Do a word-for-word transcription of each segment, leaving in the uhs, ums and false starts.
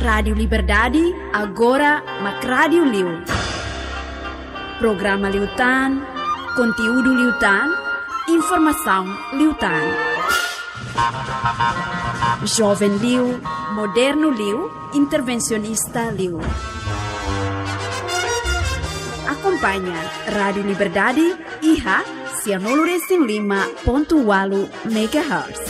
Rádiu Liberdade, agora mak rádiu liu. Programa liután, konteúdu liután, informasaun liután. Joven liu, modernu liu, intervensionista liu. Akompaña Rádiu Liberdade iha sianulu resin lima pontu ualu megahertz.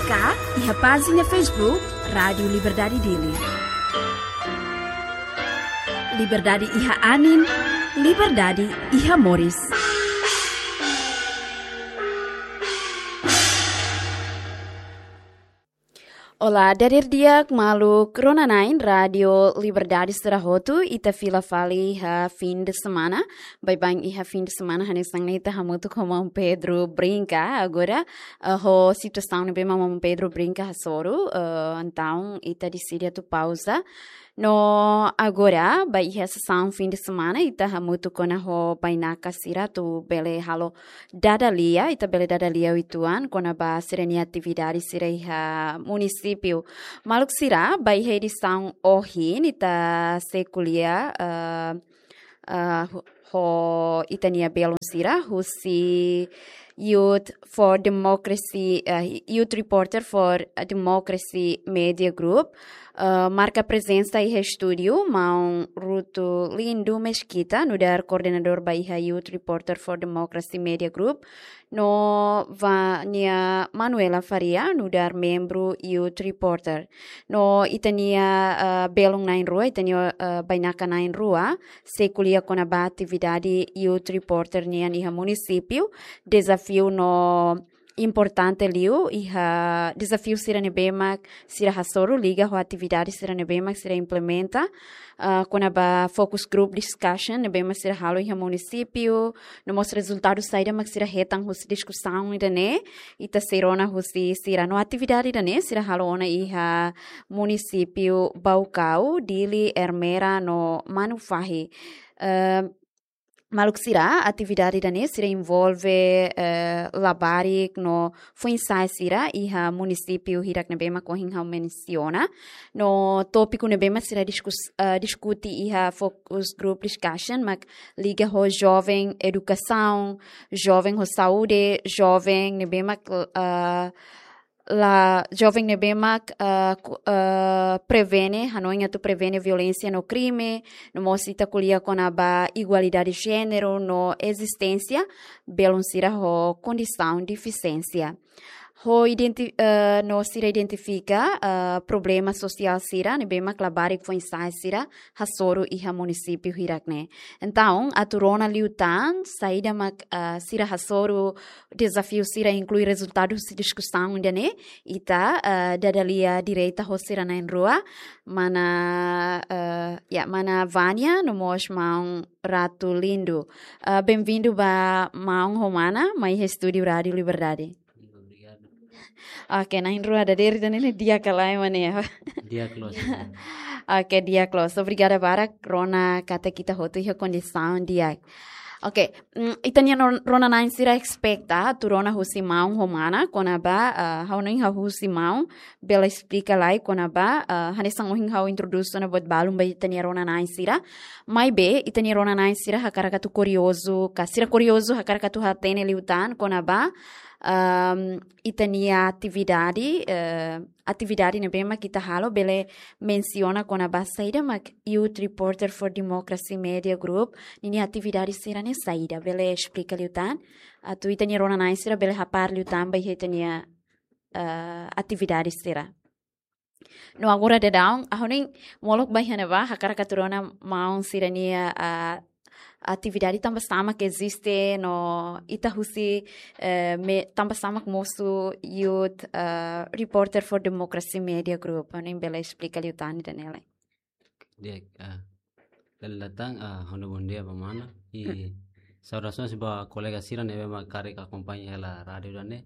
Ka iha pájina Facebook Rádiu Liberdade Dili. Liberdade iha anin, liberdade iha moris. Olá, dadeer di'ak maluk rona-na'in Rádiu Liberdade sira hotu, ita fila fali iha fim de semana. Baibain iha fim de semana, hanesan ne'e ita hamutuk ho maun Pedro brinka. Agora, eh, ho situasaun ne'ebé maun Pedro brinka hasoru, eh, entaun ita deside atu pauza. No agora, ba iha sesaun fim de semana, ita hamutuk ona ho bainaka sira atu bele halo dada lia, ita bele dada lia uitoan kona-ba sira-nia atividade sira iha munisípiu. Maluk sira, ba iha edisaun ohin, ita sei ko'alia, eh, eh, ho, ho ita-nia belun sira, husi Youth for Democracy, eh, Youth Reporter for Democracy Media Group, eh, marka prezensa iha estúdiu, maun Ruto Lindo Mesquita, nu'udar koordenadór ba iha Youth Reporter for Democracy Media Group, no Vânia Manuela Faria, nu'udar membru Youth Reporter. No ita-nia, eh, belun na'in-rua, ita-nia, eh, bainaka na'in-rua, sei ko'alia kona-ba atividade Youth Reporter nian iha munisípiu, dezafiu no importante liu, iha dezafiu sira ne'ebé mak sira hasoru liga ho atividade sira ne'ebé mak sira implementa, ah, kona-ba focus group discussion ne'ebé mak sira halo iha munisípiu, no mós rezultadu saida mak sira hetan husi diskusaun ida-ne'e, ita sei rona husi sira no atividade ida-ne'e sira halo ona iha munisípiu Baucau, Dili, Ermera no Manufahi. Eh, maluk sira, atividade ida-ne'e sira envolve, eh, labarik no foin-sa'e sira iha munisípiu hirak ne'ebé mak ohin ha'u mensiona. No tópiku ne'ebé mak sira diskus-, eh, diskute iha focus group discussion mak liga ho joven edukasaun, joven ho saúde, joven ne'ebé mak, eh, la joven ne'ebé mak, eh, ku-, eh, prevene, hanoin atu prevene violénsia no krime, no mós ita ko'alia kona-ba igualdade de jéneru no ezisténsia belun sira ho kondisaun defisiénsia. Ho identi-, eh, no sira identifika, eh, problema sosiál sira ne'ebé mak labarik foin-sa'e sira hasoru iha munisípiu hirak-ne'e. Entaun, atu rona liután saida mak, eh, sira hasoru, dezafiu sira, inklui rezultadu husi diskusaun ida-ne'e, ita, eh, dada lia direta ho sira na'in-rua, mana, eh, ya, mana Vânia no mós maun Ruto Lindo. Eh, bem-vindo ba maun ho mana mai estúdiu Rádiu Liberdade. Obrigadu. Oke, na'in-rua dadeer ida-ne'e di'ak ka lae, mana? Di'ak loos. Oke, di'ak loos. Obrigada barak, rona katak ita hotu iha kondisaun di'ak. Oke, mm, ita-nia ron-, rona-na'in sira espeta atu rona husi maun ho mana, kona-ba, ah, ha'u-nia husi maun, bele esplika lai kona-ba, ah, hanesan ohin ha'u introdús ona buat balun ba ita-nia rona-na'in sira. Maibé, ita-nia rona-na'in sira hakarak atu kuriozu, ka sira kuriozu hakarak atu hatene liután kona-ba, ehm, ita-nia atividade, eh, atividade ne'ebé mak ita halo, bele mensiona kona-ba saida mak Youth Reporter for Democracy Media Group ninia atividade sira-ne'e saida, bele esplika liután. Atu ita-nia rona-na'in sira bele hapara liután ba iha ita-nia, eh, atividade sira. No agora daudaun, ha'u-nia molok ba iha ne'ebá, hakarak atu rona maun sira-nia, ah, atividade tanba sá mak eziste, no ita husi, eh, me-, tanba sá mak mosu Youth, eh, Reporter for Democracy Media Group. Ha'u-nia bele esplika liután ida-ne'e lai. Di'ak, ah, bele datan, ah, ha'u-nia bondia ba mana. I saudasaun ba kolega sira ne'ebé mak karik akompaña hela rádiu ida-ne'e.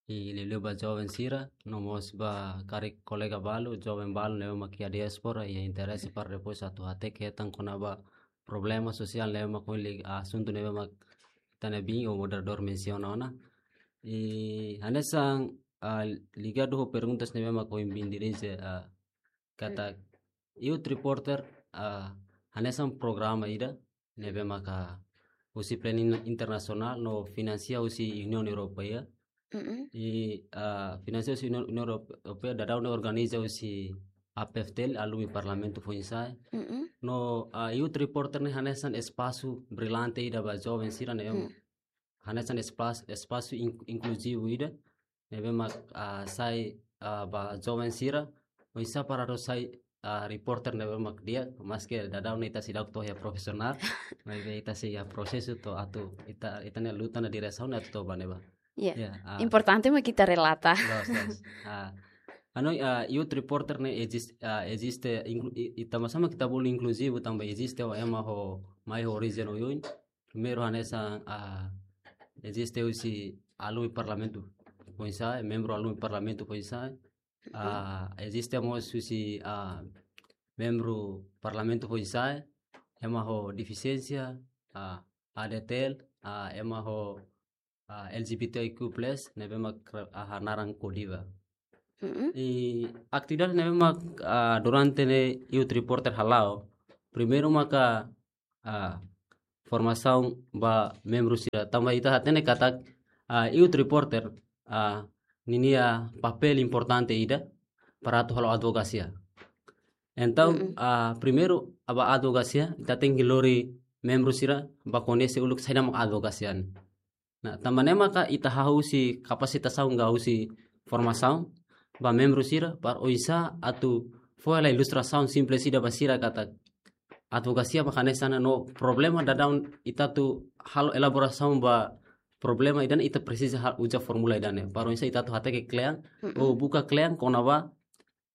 I liuliu ba joven sira, no mós ba karik kolega balu, joven balu ne'ebé mak iha diáspora, iha interese para depois atu hateke hetan kona-ba problema sosiál ne'ebé mak ohin liga asuntu ne'ebé mak ita-nia bin ou moderadór mensiona ona. I hanesan, ah, ligadu ho perguntas ne'ebé mak ohin bin dirije, ah, katak Youth Reporter, ah, hanesan programa ida ne'ebé maka husi planu in-, internasionál no finansia husi Uniaun Europeia. Mm-mm. I, ah, finansia husi Uniaun, Uniaun Europeia daudaun ne'e organiza husi A P F T L, Alumni Parlamentu Foinsa'e. Mm-mm. No, ah, Youth Reporter ne'e hanesan espasu brilante ida ba joven sira ne'e Mm. hanesan espas-, espasu in-, inkluzivu ida ne'ebé mak, ah, sai, ah, ba joven sira, oinsá para atu sai, ah, reporter ne'ebé mak di'ak, maske daudaun ne'e ita seidauk to'o iha profisionál, maibé ita sei iha prosesu to'o atu ita, ita-nia luta no diresaun atu to'o ba ne'ebá. Ya. Ya, ah. Importante mak ita relata. Loos, loos. Ah, anu, ah, Youth Reporter ne'e ezis-, ah, eziste, inklu-, i, i tanba sá mak ita bolu inkluzivu, tanba eziste ema ho, mai ho orijen oioin. Primeiru hanesan, ah, eziste husi Alumni Parlamentu Foinsa'e, membru Alumni Parlamentu Foinsa'e. Mhm. Ah, eziste mós husi, ah, membru Parlamentu Foinsa'e, ema ho defisiénsia, ah, A D T L, ah, ema ho, ah, L G B T I Q plus, ne'ebé mak, ah, hanaran Kodiva. Mm-mm. I atividade ne'ebé mak, ah, durante ne'e Youth Reporter hala'o. Primeiru maka, ah, formasaun ba membru sira. Tanba ita hatene katak, ah, Youth Reporter, ah, ninia papél importante ida para atu halo advokasia. Entaun, Mm-mm. ah, primeiru, ba advokasia, ita tenke lori membru sira ba koñese uluk saida mak advokasia ne'e. Nah, tanba ne'e maka ita hahú husi kapasitasaun ka husi formasaun ba membru sira para oinsá atu fó hela ilustrasaun simples ida ba sira katak advokasia mak hanesan ne'e no problema daudaun ita atu halo elaborasaun ba problema ida-ne'e ita presiza ha-, uza fórmula ida-ne'e. Para oinsá ita atu hateke kle'an, Mm-mm. ou buka kle'an kona-ba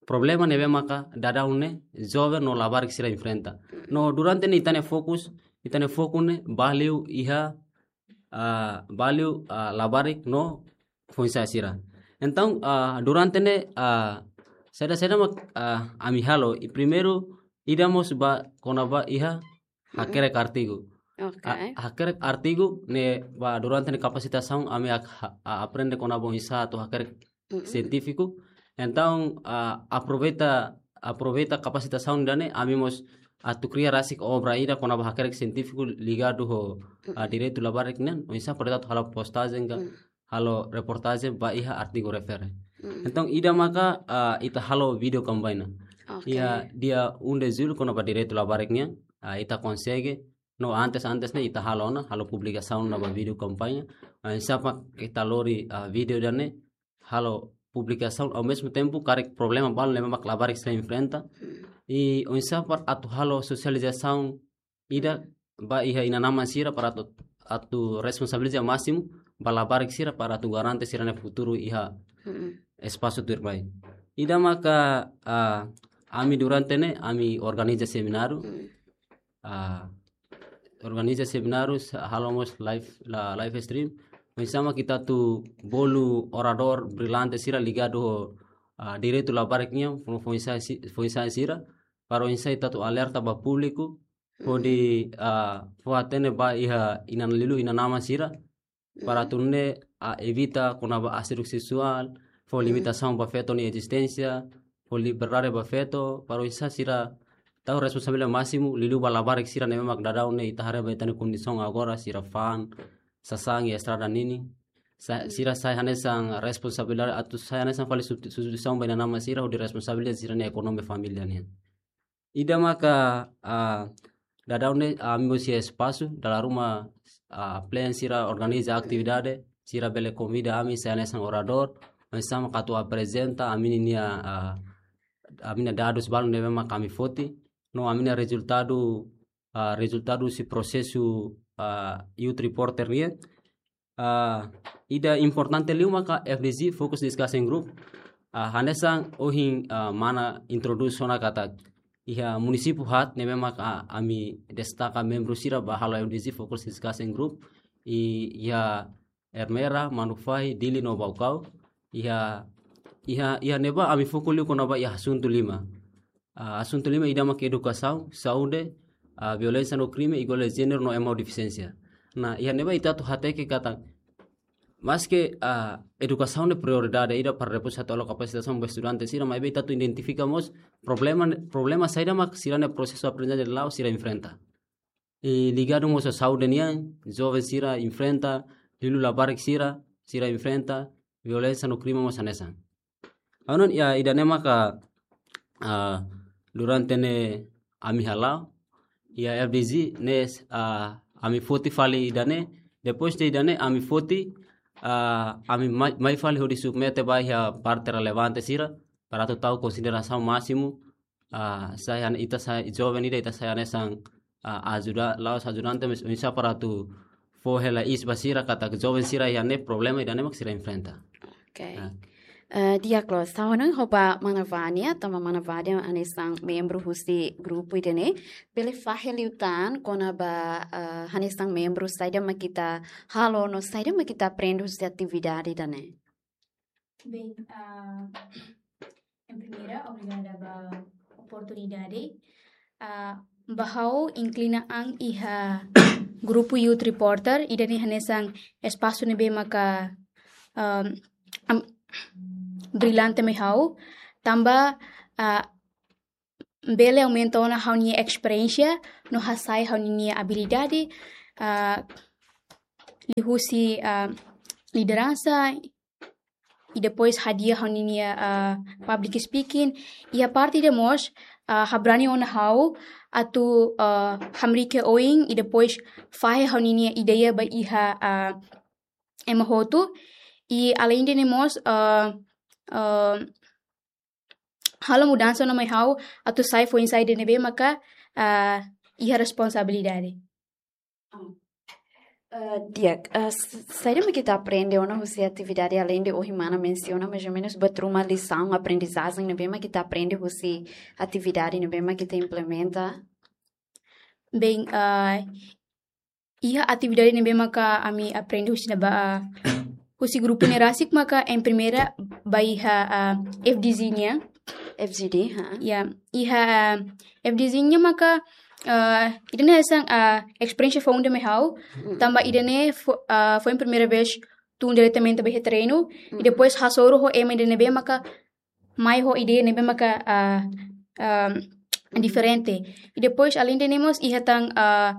problema ne'ebé maka daudaun ne'e joven no labarik sira enfrenta. No durante ne'e ita-nia fokus, ita-nia foku ne'e ba liu iha, ah, ba liu, ah, labarik no foinsa'e sira. Entaun, ah, durante ne'e, ah, saida-saida mak, ah, ami halo, i primeiru ida mós ba kona-ba iha Mm-mm. hakerek artigu. Oke. A, hakerek artigu ne'e ba durante ne'e kapasitasaun ami ak-, ha-, a, aprende kona-ba oinsá atu hakerek Mm-mm. sientífiku. Entaun, ah, aproveita, aproveita kapasitasaun ida-ne'e, ami mós atu kria rasik obra ida kona-ba hakerek sientífiku ligadu ho, ah, Mm-mm. direitu labarik nian, oinsá para atu halo postajen ka, Mm. halo reportajen ba iha artigu refere. Mm-mm. Entaun, ida maka, ah, ita halo vídeo kampaña. Oke. Iha dia um de julho kona-ba direitu labarik nian, ah, ita konsege, no antes, antes ne'e ita halo ona, halo publikasaun ona ba Mm. vídeo kampaña. Ah, oinsá mak ita lori, ah, vídeo ida-ne'e, halo publikasaun, ao mesmo tempo, karik problema balu ne'ebé mak labarik sira enfrenta. Mm. I oinsá para atu halo sosializasaun ida ba iha inan-aman sira para atu, atu responsabiliza másimu ba labarik sira para atu garante sira-nia futuru iha Mm-mm. espasu tuirmai. Ida maka, ah, ami durante ne'e, ami organiza semináriu, Mm. ah, organiza semináriu, sa-, halo mós live, la, live stream. Oinsá mak ita atu bolu oradór brilante sira ligadu ho, ah, direitu labarik nian, fo-, foinsa'e si-, foinsa'e sira, para oinsá ita atu alerta ba públiku, Mm. hodi, ah, fó hatene ba iha inan liuliu inan-aman sira, para Mm. atu nune'e, ah, evita kona-ba assédio seksuál, fó Mm. limitasaun ba feto nia ezisténsia, fó liberdade ba feto, para oinsá sira tau responsabilidade másimu, liuliu ba labarik sira ne'ebé mak daudaun ne'e ita haree ba ita-nia kondisaun agora, sira fa'an, sasán iha estrada ninin. Sa-, Mm. sira sai hanesan responsabilidade, atu sai hanesan fali substi-, substituisaun ba inan-aman sira, hodi responsabiliza sira-nia ekonomia família nian. Ida maka, ah, daudaun ne'e, ah, ami mós iha espasu, dala ruma, ah, plean sira organiza atividade, sira bele konvida ami sai hanesan oradór, oinsá mak atu aprezenta ami-nia, ah, ami-nia dadus balu ne'ebé mak ami foti, no ami-nia rezultadu, ah, rezultadu husi prosesu, ah, Youth Reporter nian. Ah, ida importante liu maka F D G, Focus Discussion Group. Ah, hanesan ohin, ah, mana introdús ona katak iha munisípiu haat ne'ebé maka, ah, ami destaka membru sira ba halo F D G, Focus Discussion Group. I, iha Ermera, Manufahi, Dili no Baucau. Iha, iha, iha ne'ebá ami foku liu kona-ba iha asuntu lima. Ah, asuntu lima ida mak edukasaun, saúde, ah, violénsia no krime, igualdade de jéneru no ema ho defisiénsia. Nah, iha ne'ebá ita atu hateke katak maske, ah, edukasaun ne'e prioridade ida para depois atu halo kapasitasaun ba estudante sira, maibé ita atu identifika mós problema, problema saida mak sira-nia prosesu aprendizajen la'o sira enfrenta. I ligadu mós ho saúde nian, joven sira enfrenta, liuliu labarik sira, sira enfrenta violénsia no krime mós hanesan. Ha'u hanoin, ya, ida-ne'e maka, ah, durante ne'e ami hala'o, iha F D G ne'e, ah, ami foti fali ida-ne'e, depois de ida-ne'e ami foti, ah, ami mai, mai fali hodi submete ba iha parte relevante sira, para atu tau konsiderasaun másimu, ah, sai han-, ita sai joven ida, ita sai hanesan, ah, ajuda, la'ós ajudante, mas oinsá para atu fó hela iis ba sira katak joven sira iha ne'e problema ida-ne'e mak sira enfrenta. Oke. Ah. Eh, di'ak loos, ha'u hanoin ho ba mana Vania, tanba mana Vania hanesan membru husi grupu ida-ne'e, bele fahe liután kona-ba, eh, hanesan membru saida mak ita halo no saida mak ita aprende husi atividade ida-ne'e. Bem, ah, em primeira, obrigada ba oportunidade. Ah, ba ha'u inklina an iha grupu Youth Reporter, ida-ne'e hanesan espasu ne'ebé maka, ah, am-, brilante mai ha'u, tanba, ah, bele aumenta ona ha'u-nia esperiénsia, no hasa'e ha'u-nia abilidade, ah, liuhusi, ah, lideransa, i depois hadi'a ha'u-nia, ah, public speaking. Iha parte ida mós, ah, habrani ona ha'u atu, ah, hamriik oin, i depois fahe ha'u-nia ideia ba iha, ah, ema hotu. I além de ne'e mós, ah, ah, halo mudansa ona mai ha'u atu sai foin-sa'e ida ne'ebé maka, ah, iha responsabilidade. Ah, eh, di'ak, eh, s-, saida mak ita aprende ona husi atividade além de ohin mana mensiona mais ou menos buat ruma lisaun, aprendizajen ne'ebé mak ita aprende husi atividade ne'ebé mak ita implementa? Bem, ah, iha atividade ne'ebé maka ami aprende husi ne'ebá, ah, husi grupu ne'e rasik maka em primeira ba iha, ah, F D G nian. F G D, ha? Ya, iha, ah, F D G nian maka, ah, ida-ne'e hanesan, ah, esperiénsia foun ida mai ha'u, Mm. tanba ida-ne'e fo-, ah, foin primeira vez tun diretamente ba iha terrenu, Mm. i depois hasoru ho ema ida ne'ebé maka mai ho ideia ne'ebé maka, ah, ah, diferente. I depois além de ne'e mós iha tan, ah,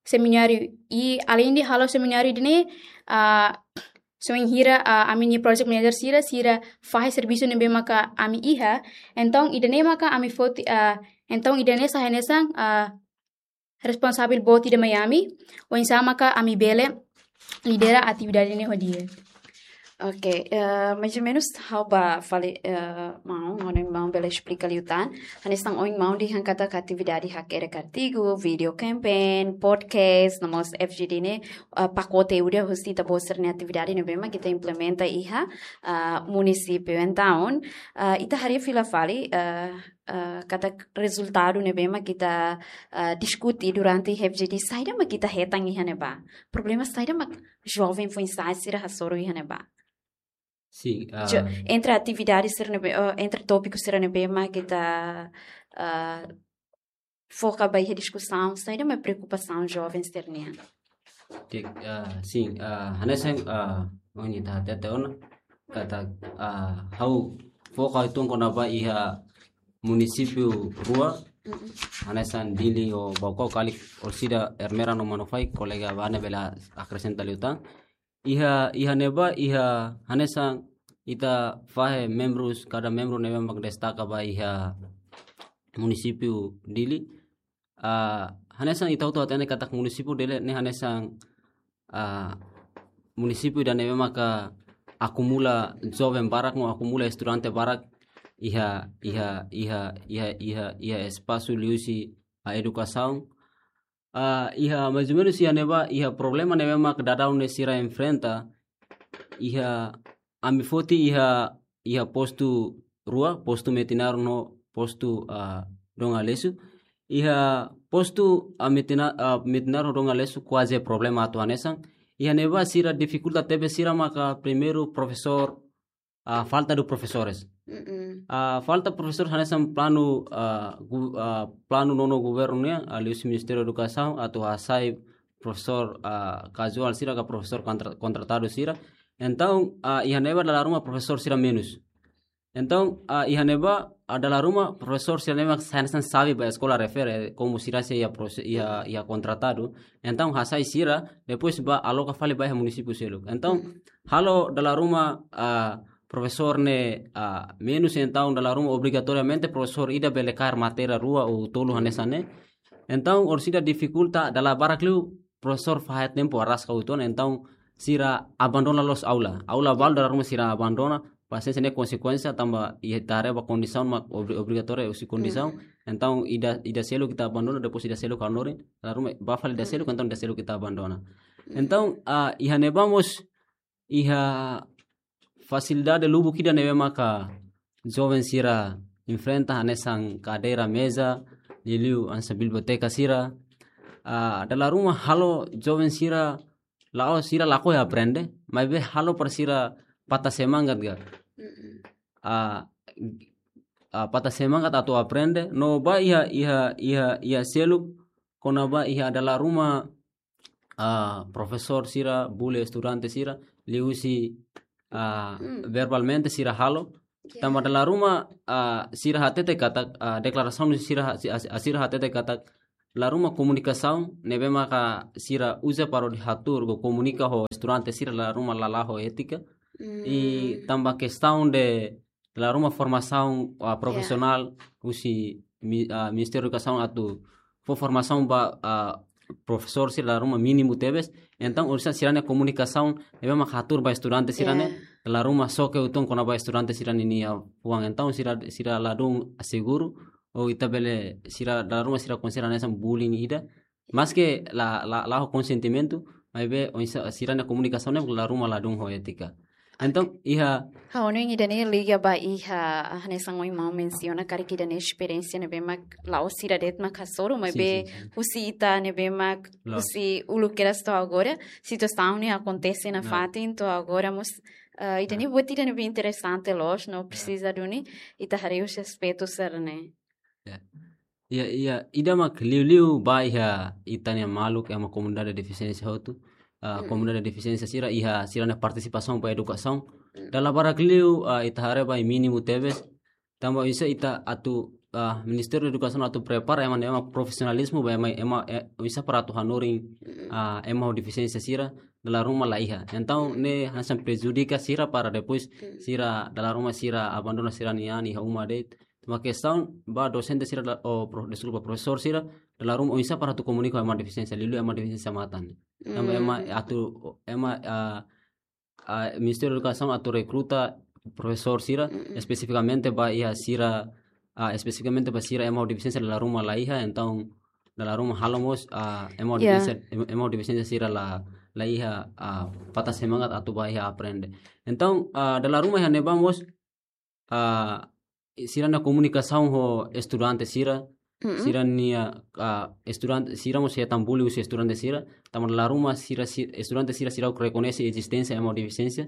semináriu, i além de halo semináriu ida-ne'e, ah, se bainhira, ah, ami-nia project manager sira, sira fahe servisu ne'ebé maka ami iha, entaun ida-ne'e maka ami foti, ah, entaun ida-ne'e sai hanesan, ah, responsavel boot ida mai ami, oinsá maka ami bele lidera atividade ne'e ho di'ak. Oke, eh, mais ou menos ha'u bá fali, eh, maun, ha'u hanoin maun bele esplika liután. Hanesan ohin maun dehan katak atividade hakerek artigu, video campaign, podcast, no mós F G D ne'e, eh, pakote ida husi ita-boot sira-nia atividade ne'ebé mak ita implementa iha, eh, munisípiu. Entaun, eh, ita haree fila fali, eh, eh, katak rezultadu ne'ebé mak ita, eh, diskute durante F G D, saida mak ita hetan iha ne'ebá. Problema saida mak joven foin-sa'e sira hasoru iha ne'ebá. Sin, Jo-, ah, entre atividade sira ne'ebé, eh, entre tópiku sira ne'ebé mak ita, eh, foka ba iha diskusaun, saida mak preokupasaun joven sira-nian? Oke, ah, sin, ah, hanesan, ah, ohin ita hatete ona, katak, ah, ha'u foka uitoan kona-ba iha munisípiu rua, Mm-mm. hanesan Dili ho Baucau, karik orsida Ermera no Manufahi, kolega Vania bele akresenta liután. Iha, iha ne'ebá, iha hanesan ita fahe membrus, kada membru ne'ebé mak destaka ba iha munisípiu Dili. Ah, hanesan ita hotu hatene katak munisípiu Dili ne'e hanesan, ah, munisípiu ida ne'ebé maka akumula joven barak no akumula estudante barak iha, iha, iha, iha, iha, iha espasu liuhusi, ah, edukasaun. Ah, iha mais ou menos iha ne'ebá, iha problema ne'ebé mak daudaun ne'e sira enfrenta, iha ami foti iha, iha postu rua, postu Metinaro no postu, ah, Dom Aleixo. Iha postu, ah, Metina-, ah, Metinaro Dom Aleixo kuaze problema atu hanesan. Iha ne'ebá sira difikulta tebes sira maka primeiru profesór, ah, falta de profesores. Mm-mm. Ah, falta profesór hanesan planu, ah, gu-, ah, planu nonu governu nian, ah, liuhusi Ministériu Edukasaun, atu hasai profesór, ah, kazuál sira ka profesór kontra-, kontratadu sira. Entaun, ah, iha ne'ebá dala ruma profesór sira menus. Entaun, ah, iha ne'ebá, ah, dala ruma profesór sira ne'ebé mak hanesan xave ba eskola refere, komu sira sei iha profe-, iha, iha kontratadu. Entaun, hasai sira, depois bá aloka fali ba iha munisípiu seluk. Entaun, halo dala ruma, ah, profesór ne'e, ah, menus, entaun dala ruma obrigatoriamente profesór ida bele kaer matéria rua ou tolu hanesan ne'e. Entaun, orsida difikulta, dala barak liu profesór fahe tempu araska uitoan, entaun sira abandona loos aula. Aula balu dala ruma sira abandona, pasiénsia ne'e konsekuénsia tanba ita haree ba kondisaun mak obri-, obrigatóriu husi kondisaun. Entaun ida, ida seluk ita abandona, depois ida seluk hanorin, dala ruma bá fali ida seluk, entaun ida seluk ita abandona. Entaun, ah, iha ne'ebá mós iha fasilidade lubuk ida ne'ebé maka joven sira enfrenta hanesan kadeira meza, liuliu hanesan biblioteka sira. Ah, dala ruma halo joven sira la'ós sira lakohi aprende, maibé halo para sira patah semangat ga. Ah, ah, patah semangat atu aprende, no bá iha, iha, iha, iha seluk, kona-ba iha dala ruma, ah, profesór sira bully estudante sira, liuhusi, ah, verbalmente sira halo. Tanba dala ruma, ah, sira hatete katak, ah, deklarasaun sira ha-, si-, ah, sira hatete katak, dala ruma komunikasaun ne'ebé maka sira uza para hodi hatuur ka komunika ho estudante sira dala ruma la la'o étika. I tanba kestaun de dala ruma formasaun, ah, profisionál husi mi-, ah, Ministériu Edukasaun atu fó formasaun ba, ah, profesór sira dala ruma mínimu tebes. Entaun, orsida sira-nia komunikasaun ne'ebé mak hatuur ba estudante sira-ne'e, dala ruma xoke uitoan kona-ba estudante sira-ninia fuan. Entaun, sira, sira ladún seguru, ou ita bele sira dala ruma sira konsidera hanesan bullying ida. Maske la, la, la'o konsentimentu, maibé oinsá sira-nia komunikasaun ne'e dala ruma ladún ho étika. Entaun, iha... Ha'u hanoin ida-ne'e liga ba iha, ah, hanesan ohin maun mensiona karik ida-ne'e esperiénsia ne'ebé mak la'ós sira de'it mak hasoru, maibé husi ita ne'ebé mak husi uluk kedas to'o agora, situasaun ne'e akontese nafatin to'o agora mós, ah, ida-ne'e buat ida ne'ebé interesante loos, no presiza duni ita haree husi aspetu sira-ne'e. Ya. Iha, iha, ida mak liuliu ba iha ita-nia maluk ema komunidade defisiénsia hotu. Ah, komunidade defisiénsia sira iha sira-nia partisipasaun ba edukasaun. Dala barak liu, ah, ita haree ba mínimu tebes. Tanba oinsá ita atu, ah, Ministériu Edukasaun atu prepara ema, ema profisionalizmu ba ema, ema, eh, oinsá para atu hanorin, ah, ema ho defisiénsia sira dala ruma la iha. Entaun ne'e hanesan prejudika sira para depois sira dala ruma sira abandona sira-nia an iha uma de'it. Tanba kestaun ba dosente sira da-, oh, pro-, deskulpa, profesór sira dala ruma oinsá para atu komunika ho ema defisiénsia, liuliu ema defisiénsia matan. Tanba ema atu, ema, ah, ah, Ministériu Edukasaun atu rekruta profesór sira espesifikamente ba iha sira, ah, espesifikamente ba sira ema ho defisiénsia dala ruma la iha, entaun dala ruma halo mós, ah, ema ho defisiénsia, em-, ema ho defisiénsia sira la, la iha, ah, patah semangat atu ba iha aprende. Entaun, ah, dala ruma iha ne'ebá mós, ah, sira-nia komunikasaun ho estudante sira, sira-nia, ah, estudante sira mós hetan bully husi estudante sira, tanba dala ruma sira si-, estudante sira seidauk rekoñese ezisténsia ema ho defisiénsia.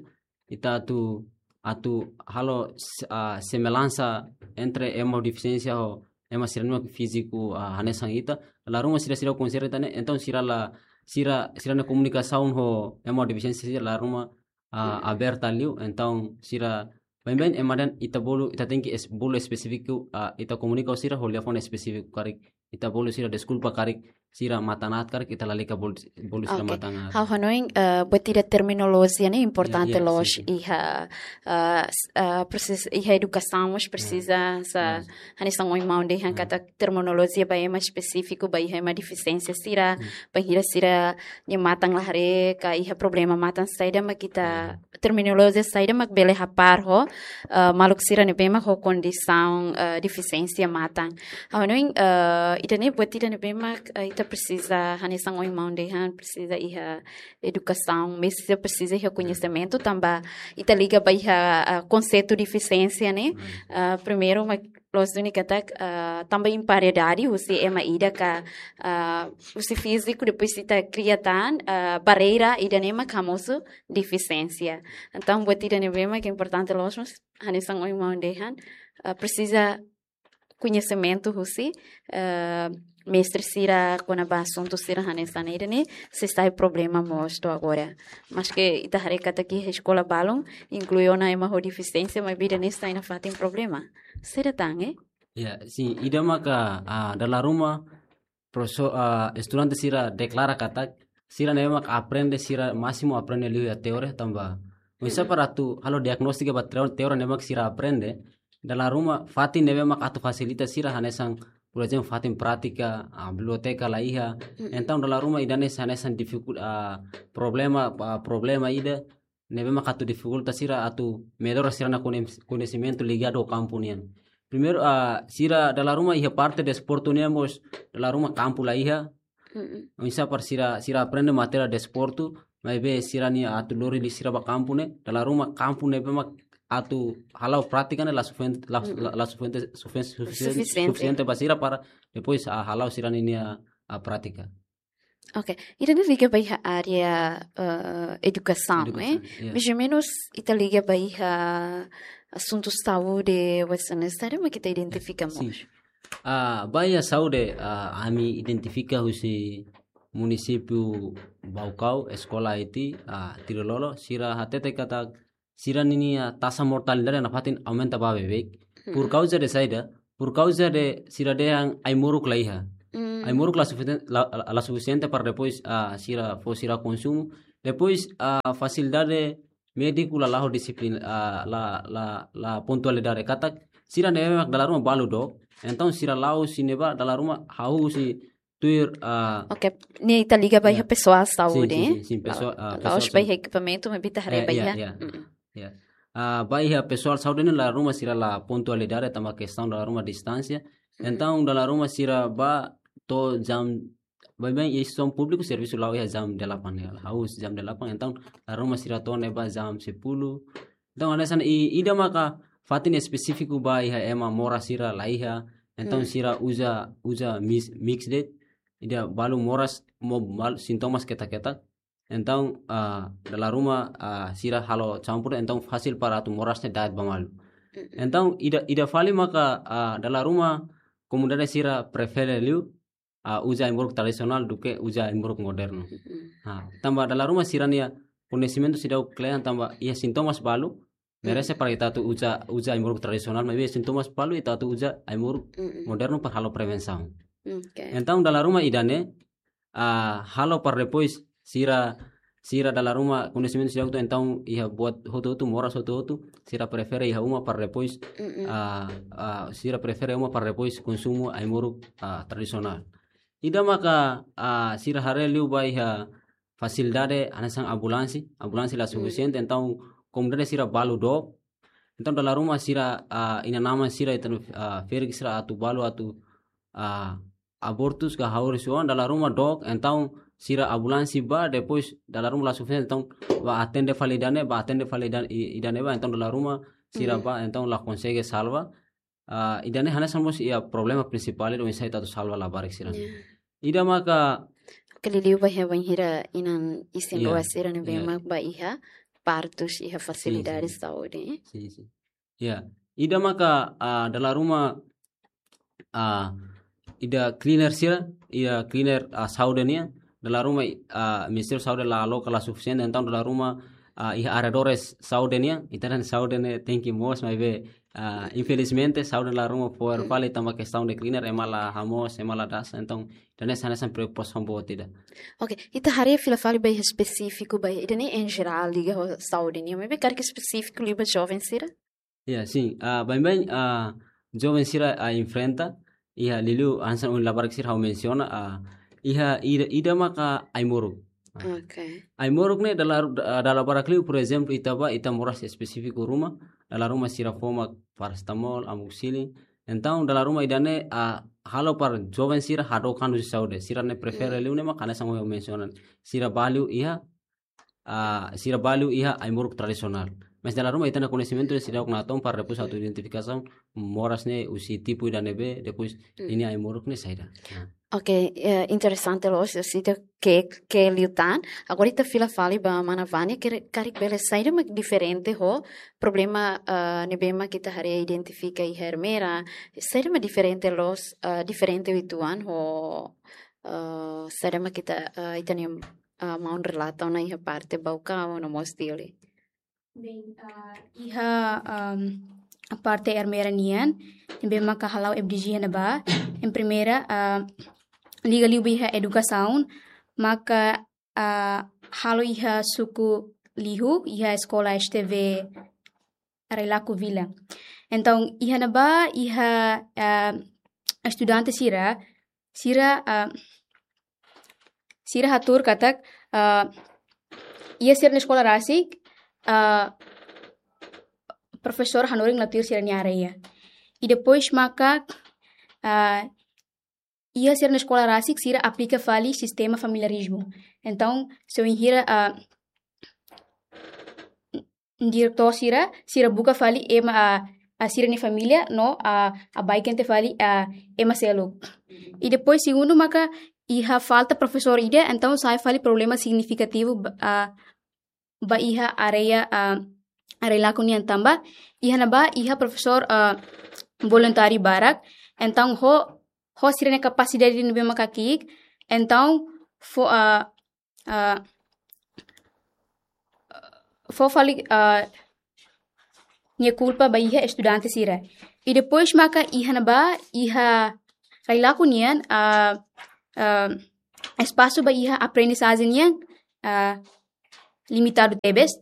Ita atu, atu halo s-, ah, semellansa entre ema ho defisiénsia ho ema sira-ne'e mak fíziku, ah, hanesan ita. Dala ruma sira seidauk konsidera ita-nia, entaun sira la, sira, sira-nia komunikasaun ho ema ho defisiénsia sira dala ruma, ah, aberta liu, entaun sira baibain ema dehan ita bolu, ita tenke es-, bolu espesífiku, ah, ita komunika ho sira ho liafuan espesífiku karik, ita bolu sira deskulpa karik sira matan aat karik ita lalika bolu, bolu sira matan aat. Ha'u hanoin, eh, buat ida terminolojia ne'e importante loos iha, eh, s-, eh, presiza, iha edukasaun mós presiza sa hanesan ohin maun dehan katak terminolojia ba ema espesífiku, ba iha ema defisiénsia sira, bainhira sira-nia matan la haree ka iha problema matan saida mak ita terminolojia saida mak bele hapar ho, eh, maluk sira ne'ebé mak ho kondisaun, eh, defisiénsia matan. Ha'u hanoin, eh, ida-ne'e buat ida ne'ebé mak, eh, ita presiza hanesan ohin maun dehan presiza iha edukasaun, presiza, presiza iha koñesimentu tanba ita liga ba iha, eh, konseitu defisiénsia ne'e. Eh, primeiru mak loos duni katak, ah, tanba imparidade husi ema ida ka, ah, husi fíziku, depois ita kria tan, ah, barreira ida-ne'e mak hamosu defisiénsia. Entaun buat ida ne'ebé mak importante loos mós hanesan ohin maun dehan, ah, presiza koñesimentu husi, ah, mestre sira kona-ba asuntu sira hanesan ne'e, ida-ne'e sei sai problema mós to'o agora. Maske ita haree katak iha eskola balun inklui ona ema ho defisiénsia, maibé ida-ne'e sai nafatin problema. Saida tan, eh? Ya, sin, ida maka, ah, dala ruma profesór, ah, estudante sira deklara katak sira ne'ebé mak aprende sira másimu aprende liu iha teoria tanba. Oinsá para atu halo diagnóstika ba teo-, teoria ne'ebé mak sira aprende, dala ruma fatin ne'ebé mak atu fasilita sira hanesan, por ezemplu, fatin prátika, ah, biblioteka la iha. Entaun dala ruma ida-ne'e hanesan difikul-, ah, problema, ah, problema ida ne'ebé mak atu difikulta sira atu mellora sira-nia koñes-, koñesimentu ligadu ho kampu nian. Primeiru, ah, sira dala ruma iha parte desportu nian mós dala ruma kampu la iha. Oinsá para sira, sira aprende matéria desportu, maibé sira-nia atu lori liu sira ba kampu ne'e, dala ruma kampu ne'ebé mak atu hala'o prátika ne'e la sufisiente, la, la, la sufisiente, sufisiente, sufisiente, sufisiente ba sira para depois, ah, hala'o sira-nia, ah, prátika. Ok, ida-ne'e liga ba iha área, eh, edukasaun, eh? Edukasaun, ya. Mais ou menus ita liga ba iha asuntu saúde, hanesan ne'e, saida mak ita identifika mós? Ah, ba iha saúde, ah, ami identifika husi munisípiu Baucau, eskola iti, ah, Tilololo, sira hatete katak sira-nia taxa mortalidade nafatin aumenta ba beibeik. Por kauza de saida, por kauza de sira dehan ai-moruk la iha. Ai-moruk la sufisien-, la, la, la sufisiente para depois, ah, sira fó sira konsumu. Depois, ah, fasilidade médiku la la'o disiplina, ah, la, la, la pontualidade katak sira ne'ebé mak dala ruma balu dook. Entaun sira la'o husi ne'ebá dala ruma hahú husi tuir, ah, Ok, ne'e ita liga ba iha pesoál saúde, sin, sin, sin, pesoál, ah, pesoál saúde. La'ós ba iha ekipamentu, maibé ita haree ba iha. Ya, ya. Ah, ba iha pesoál saúde ne'e dala ruma sira la pontualidade tanba kestaun dala ruma distánsia. Entaun dala ruma sira ba to'o jam, baibain instituisaun públiku servisu la'o iha jam delapan ne'e, hahú husi jam delapan, entaun dala ruma sira to'o ne'ebá jam sepuluh. Entaun hanesan ne'e, i-, ida maka fatin espesífiku ba iha ema moras sira la iha. Entaun sira uza, uza mix, mixed, ida balu moras, mo-, balu sintomas ketak-ketak. Entaun, ah, dala ruma, ah, sira halo campur, entaun fasil para atu moras ne'e da'et ba malu. Entaun ida, ida fali maka, ah, dala ruma komunidade sira prefere liu, ah, uza ai-moruk tradisionál duké uza ai-moruk modernu. Ah, tanba dala ruma sira-nia koñesimentu seidauk kle'an tanba iha sintomas balu, merese para ita atu uza, uza ai-moruk tradisionál, maibé sintomas balu ita atu uza ai-moruk modernu para halo prevensaun. Ok. Entaun dala ruma ida-ne'e, ah, halo para depois sira, sira dala ruma koñesimentu seidauk to'o, entaun iha buat hotu-hotu, moras hotu-hotu, sira prefere iha uma para depois, ah, ah, sira prefere uma para depois konsumu ai-moruk, ah, tradisionál. Ida maka, ah, sira haree liu ba iha fasilidade hanesan ambulánsia, ambulánsia la sufisiente, entaun komunidade sira balu dook. Entaun dala ruma sira, ah, inan-aman sira ita, ah, ferik sira atu balu atu, ah, abortus ka hahú husi oan, dala ruma dook, entaun sira ambulánsia ba, depois dala ruma la sufisiente, entaun ba atende fali ida-ne'e, ba atende fali ida-, i-, ida-ne'e ba, entaun dala ruma sira ba, entaun la konsege salva. Ah, ida-ne'e hanesan mós iha problema prinsipál ida oinsá ita atu salva labarik sira. Ya. Ida maka Oke, liuliu ba iha bainhira inan isin-rua sira ne'ebé mak ba iha partus iha fasilidade saúde, eh? Sin, sin. Ya, ida maka, ah, dala ruma, ah, ida cleaner sira, ida cleaner, ah, saúde nian, dala ruma, ah, Ministériu Saúde la aloka la sufisiente, entaun dala ruma, ah, iha arredores saúde nian, ita dehan saúde ne'e tenke moos, maibé, ah, infelizmente, saúde dala ruma fo'er fali tanba kestaun de cleaner, ema la hamoos, ema la dasa, entaun, ida-ne'e hanesan preokupasaun boot ida. Ok, ita haree fila fali ba iha espesífiku, ba iha, ida-ne'e em geral liga ho saúde nian, maibé karik espesífiku liu ba joven sira? Ya, sin. Ah, baibain, ah, joven sira, ah, enfrenta, iha liuliu hanesan ohin labarik sira ha'u mensiona, ah, iha ida, ida maka ai-moruk. Ah. Ok. Ai-moruk ne'e dala, ah, dala barak liu, por ezemplu, ita ba, ita moras espesífiku ruma, dala ruma sira fó mak parasetamol, amoxicilin. Entaun, dala ruma ida-ne'e, ah, halo para joven sira hadook an husi saúde. Sira ne'e prefere liu ne'e mak hanesan ohin ha'u mensiona. Sira ba liu iha, ah, sira ba liu iha ai-moruk tradisionál. Mas dala ruma ita-nia koñesimentu seidauk natoon para depois atu identifikasaun moras ne'e husi tipu ida ne'ebé, depois ninia ai-moruk ne'e saida. Ah. Ok, eh, interesante loos, sita ke, ke liután. Agora ita fila fali ba mana Vânia, ke karik bele saida mak diferente ho problema, eh, ne'ebé mak ita haree identifika iha Ermera, saida mak diferente loos, eh, diferente uitoan ho, eh, saida mak ita, eh, ita-nia, eh, maun relata ona iha parte Baucau no mós Dili. Bem, ah, iha, ahm, parte Ermera nian, ne'ebé maka hala'o F D G iha ne'ebá. Em primeira, ah, liga liu ba iha edukasaun, maka, ah, halo iha suku Lihu, iha eskola S T V Railaco Vila. Entaun, iha ne'ebá, iha, ah, estudante sira, sira, ah, sira hatuur katak, ah, iha sira-nia eskola rasik, ah, profesór hanorin la tuir sira-nia área. I depois maka, ah, iha sira-nia eskola rasik sira aplika fali sistema familiarizmu. Entaun, se wainhira, ah, diretór sira, sira buka fali ema, ah, ah, sira-nia família no, ah, abaiken tiha fali, ah, ema seluk. I depois segundu maka iha falta profesór ida, entaun sai fali problema signifikativu ba, ah, ba iha área, ah, Railaco nian tanba iha ne'ebá iha profesór, ah, voluntáriu barak, entaun ho, ho sira-nia kapasidade ne'ebé maka ki'ik, entaun fó, ah, ah, fó fali, ah, nia kulpa ba iha estudante sira. I depois maka iha ne'ebá, iha Railaco nian, ah, ah, espasu ba iha aprendizajen nian, ah, limitadu tebes.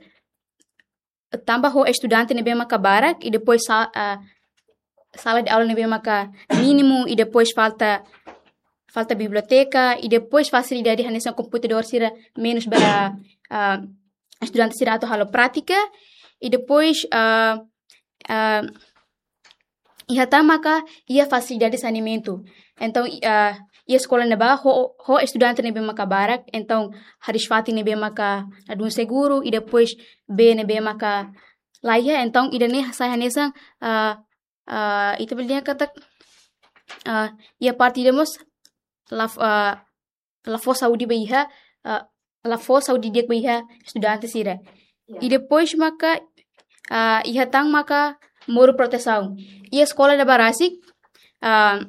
Tanba ho estudante ne'ebé maka barak, i depois sa-, ah, sala de aula ne'ebé maka mínimu, i depois falta, falta biblioteka, i depois fasilidade hanesan komputadór sira menus ba, ah, estudante sira atu halo prátika, i depois, ah, ah, iha tan maka iha fasilidade saneamentu. Entaun, i-, ah, iha eskola ne'ebá ho, ho estudante ne'ebé maka barak, entaun hariis-fatin ne'ebé maka ladún seguru, i depois bee ne'ebé maka laiha, entaun ida-ne'e sai hanesan, ah, ah, ita bele dehan katak, ah, iha parte ida mós la f-, ah, la fó saúde ba iha, ah, la fó saúde di'ak ba iha estudante sira. Ya. I depois maka, ah, iha tan maka moru protesaun. Iha eskola ne'ebá rasik, ah,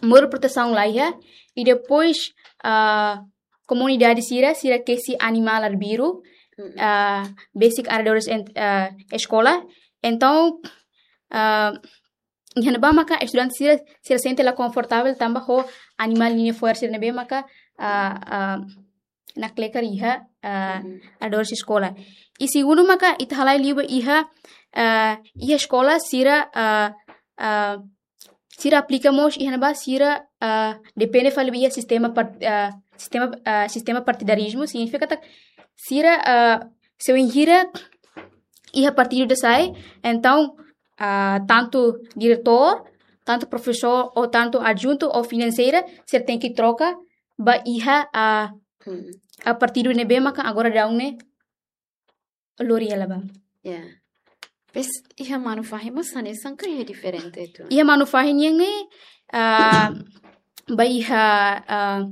moru protesaun laiha. I depois, ah, komunidade sira, sira kesi animál arbiru, mm-mm, ah, besik arredores ent-, ah, eskola. Entaun, ah, iha ne'ebá maka estudante sira, sira sente la konfortavel tanba ho animál ninia fo'er sira ne'ebé maka, ah, ah, nakleker iha, ah, mhm, arredores eskola. I segundu maka ita halai liu ba iha, ah, iha eskola sira, ah, ah, sira aplika mós iha ne'ebá sira, ah, depende fali ba iha sistema part-, ah, sistema, ah, sistema partidarizmu, signifika katak sira, ah, se wainhira iha partidu ida sai, entaun, ah, tantu diretór, tantu profesór, ou tantu adjuntu, ou finanseira, sira tenke troka ba iha, ah, hmm, ah, partidu ne'ebé maka agora daudaun ne'e lori hela ba. Ya. Depois, iha Manufahi mós hanesan ka iha diferente uitoan? Iha Manufahi nian ne'e, ah, ba iha, ah,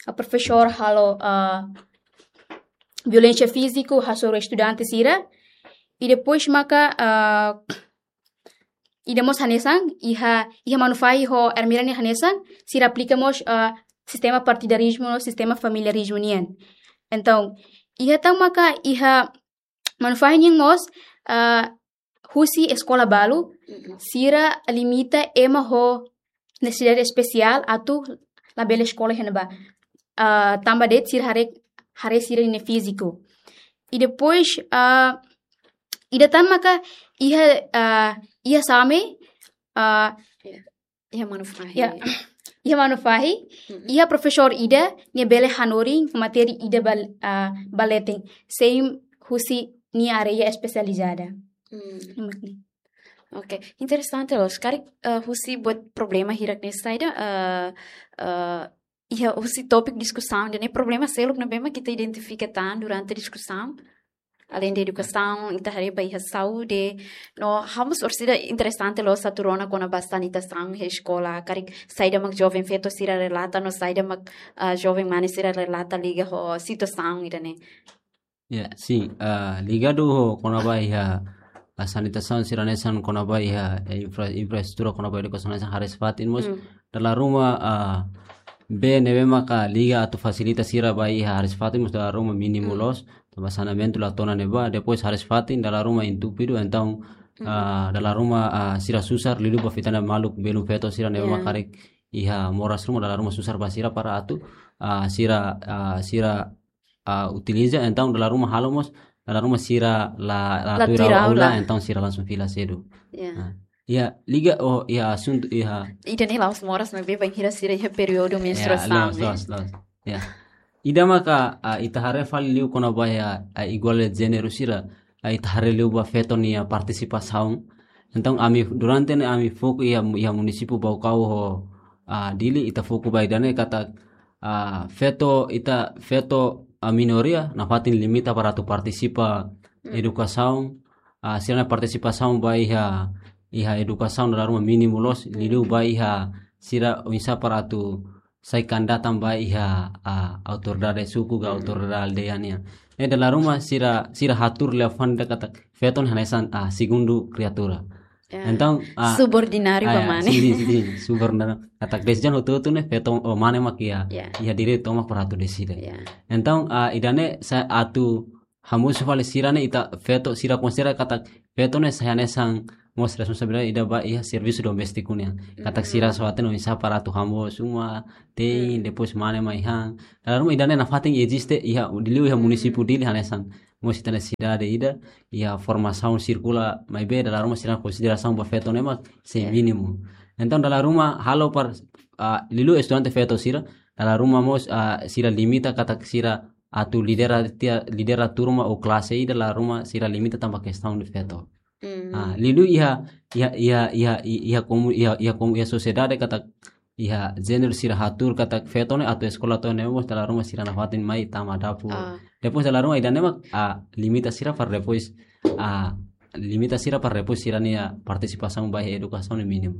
ah, profesór halo, ah, violénsia fíziku hasoru estudante sira. I depois maka, ah, ida mós hanesan, iha, iha Manufahi ho Ermera nian hanesan, sira aplika mós, ah, sistema partidarizmu no sistema familiarizmu nian. Entaun, iha tan maka iha Manufahi nian mós, ah, husi eskola balu, mm-mm, sira limita ema ho nesesidade espesiál atu labele eskola iha ne'ebá. Ah, tanba de'it sira haree, haree sira-nia fíziku. I depois, ah, ida tan maka iha, ah, iha Same, ah, ya. Iha Manufahi. Ya. Iha Manufahi, mm-mm, iha profesór ida, nia bele hanorin matéria ida ba, ah, ba leten, sein husi nia área espesializada. Hmm. Mak ne'e. Ok, interesante loos. Karik, ah, husi buat problema hirak ne'e saida, ah, ah, iha husi tópiku diskusaun ida-ne'e, problema seluk ne'ebé mak ita identifika tan durante diskusaun? Além de edukasaun, ita haree ba iha saúde. No, ha'u mós orsida interesante loos atu rona kona-ba sanitasaun iha eskola. Karik saida mak joven feto sira relata, no saida mak, ah, joven mane sira relata liga ho situasaun ida-ne'e. Ya, sin. Ah, ligadu ho kona-ba iha, ah, sanitasaun sira hanesan kona-ba iha, eh, infra-, infraestrutura kona-ba edukasaun hanesan hariis-fatin mós. Mm. Dala ruma, ah, bee ne'ebé maka liga atu fasilita sira ba iha hariis-fatin mós dala ruma mínimu Mm. loos. Tanba saneamentu la to'o ona ne'ebá, depois hariis-fatin dala ruma entupidu, entaun, Mm. ah, dala ruma, ah, sira susar liuliu ba fitana maluk belun feto sira ne'ebé Ya. maka karik iha moras ruma dala ruma susar ba sira para atu, ah, sira, ah, sira, ah, utiliza, entaun dala ruma halo mós, dala ruma sira la, la La tuir tuir aula, aula. entaun sira langsung fila sedu. Ya. Ah. Ya, liga, oh, ya, asuntu, ya. Ida-ne'e la'ós moras maibé bainhira sira iha períodu Ya, menstruasaun, loos, eh. loos, loos. Ya. Ida maka, ah, ita haree fali liu kona-ba iha, ah, igualdade de jéneru sira, ah, ita haree liu ba feto nia partisipasaun. Entaun ami durante ne'e ami foku iha, iha munisípiu Baucau ho, ah, Dili ita foku ba ida-ne'e katak, ah, feto ita feto, ah, minoria nafatin limita para atu partisipa Mm. edukasaun, ah, sira-nia partisipasaun ba iha, iha edukasaun dala ruma mínimu loos, Mm. liuliu ba iha sira oinsá para atu sai kandidata ba iha, ah, autoridade suku ka Mm. autoridade aldeia nian. Eh, dala ruma sira, sira hatuur liafuan ida katak feto ne'e hanesan, ah, segundu kriatura. Ya. Entaun, ah, Subordináriu ah, ba ya, mane. sin, sin, sin, sin, subordináriu. Katak desizaun hotu-hotu ne'e feto, oh, mane mak iha, Ya. iha direitu tomak para atu deside. Ya. Entaun, ah, ida-ne'e sai atu hamosu fali sira-ne'e ita feto sira konsidera katak feto ne'e sai hanesan mós responsabilidade ida ba iha servisu doméstiku nian. Katak sira Mm. só hatene oinsá para atu hamoos uma, te'in, Mm. depois mane mai han. Dala ruma ida-ne'e nafatin eziste iha, liuliu iha Mm. munisípiu Dili hanesan mós ita-nia sidade ida, iha formasaun sirkula maibé dala ruma sira konsiderasaun ba feto ne'e mak sei Ya. mínimu. Entaun dala ruma halo para, ah, liuliu estudante feto sira, dala ruma mós, ah, sira limita katak sira atu lidera tiha, lidera turma ou klase ida dala ruma sira limita tanba kestaun de feto. Mm. Ah, liuliu iha, iha, iha, iha, iha komu-, iha, iha komu-, iha sosiedade katak iha jéneru sira hatuur katak feto ne'e atu eskola to'o ne'e mós dala ruma sira nafatin mai tama dapur. Ah. Depois dala ruma ida-ne'e mak, ah, limita sira para depois, ah, limita sira para depois sira-nia partisipasaun ba iha edukasaun ne'e mínimu.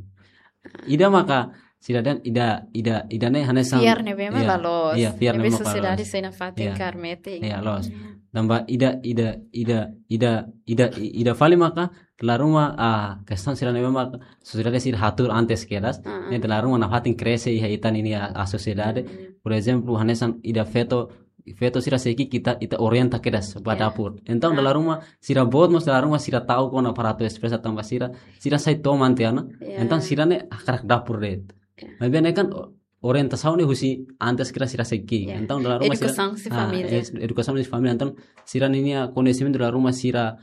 Ida maka sira dehan ida, ida, ida-ne'e hanesan Fiar ne'ebé mak Ya, la loos. ya, fiar Ne'ebé ne'ebé mak la sosiedade loos. sei nafatin Ya. kaer metin. Ya, loos. Ya. Tanba ida, ida, ida, ida, ida, i-, ida fali maka dala ruma, ah, kestaun sira ne'ebé mak sosiedade sira hatuur antes kedas, Ah, ah. ne'e dala ruma nafatin krese iha ita ninia, ah, sosiedade. Mm. Por ezemplu, hanesan ida feto, feto sira sei ki'ik ita, ita orienta kedas ba Ya. dapur. Entaun Ah. dala ruma sira boot mós dala ruma sira ta'uk ona para atu espresa tanba sira, sira sai toman tiha ona. Ya. Entaun sira ne'e hakarak dapur de'it. Ya. Maibé ne'e kan o-, orientasaun ne'e husi antes kedas sira sei ki'ik. Ya. Entaun dala ruma sira Edukasaun husi ah, família. es-, edukasaun husi família. Entaun sira ninia koñesimentu dala ruma sira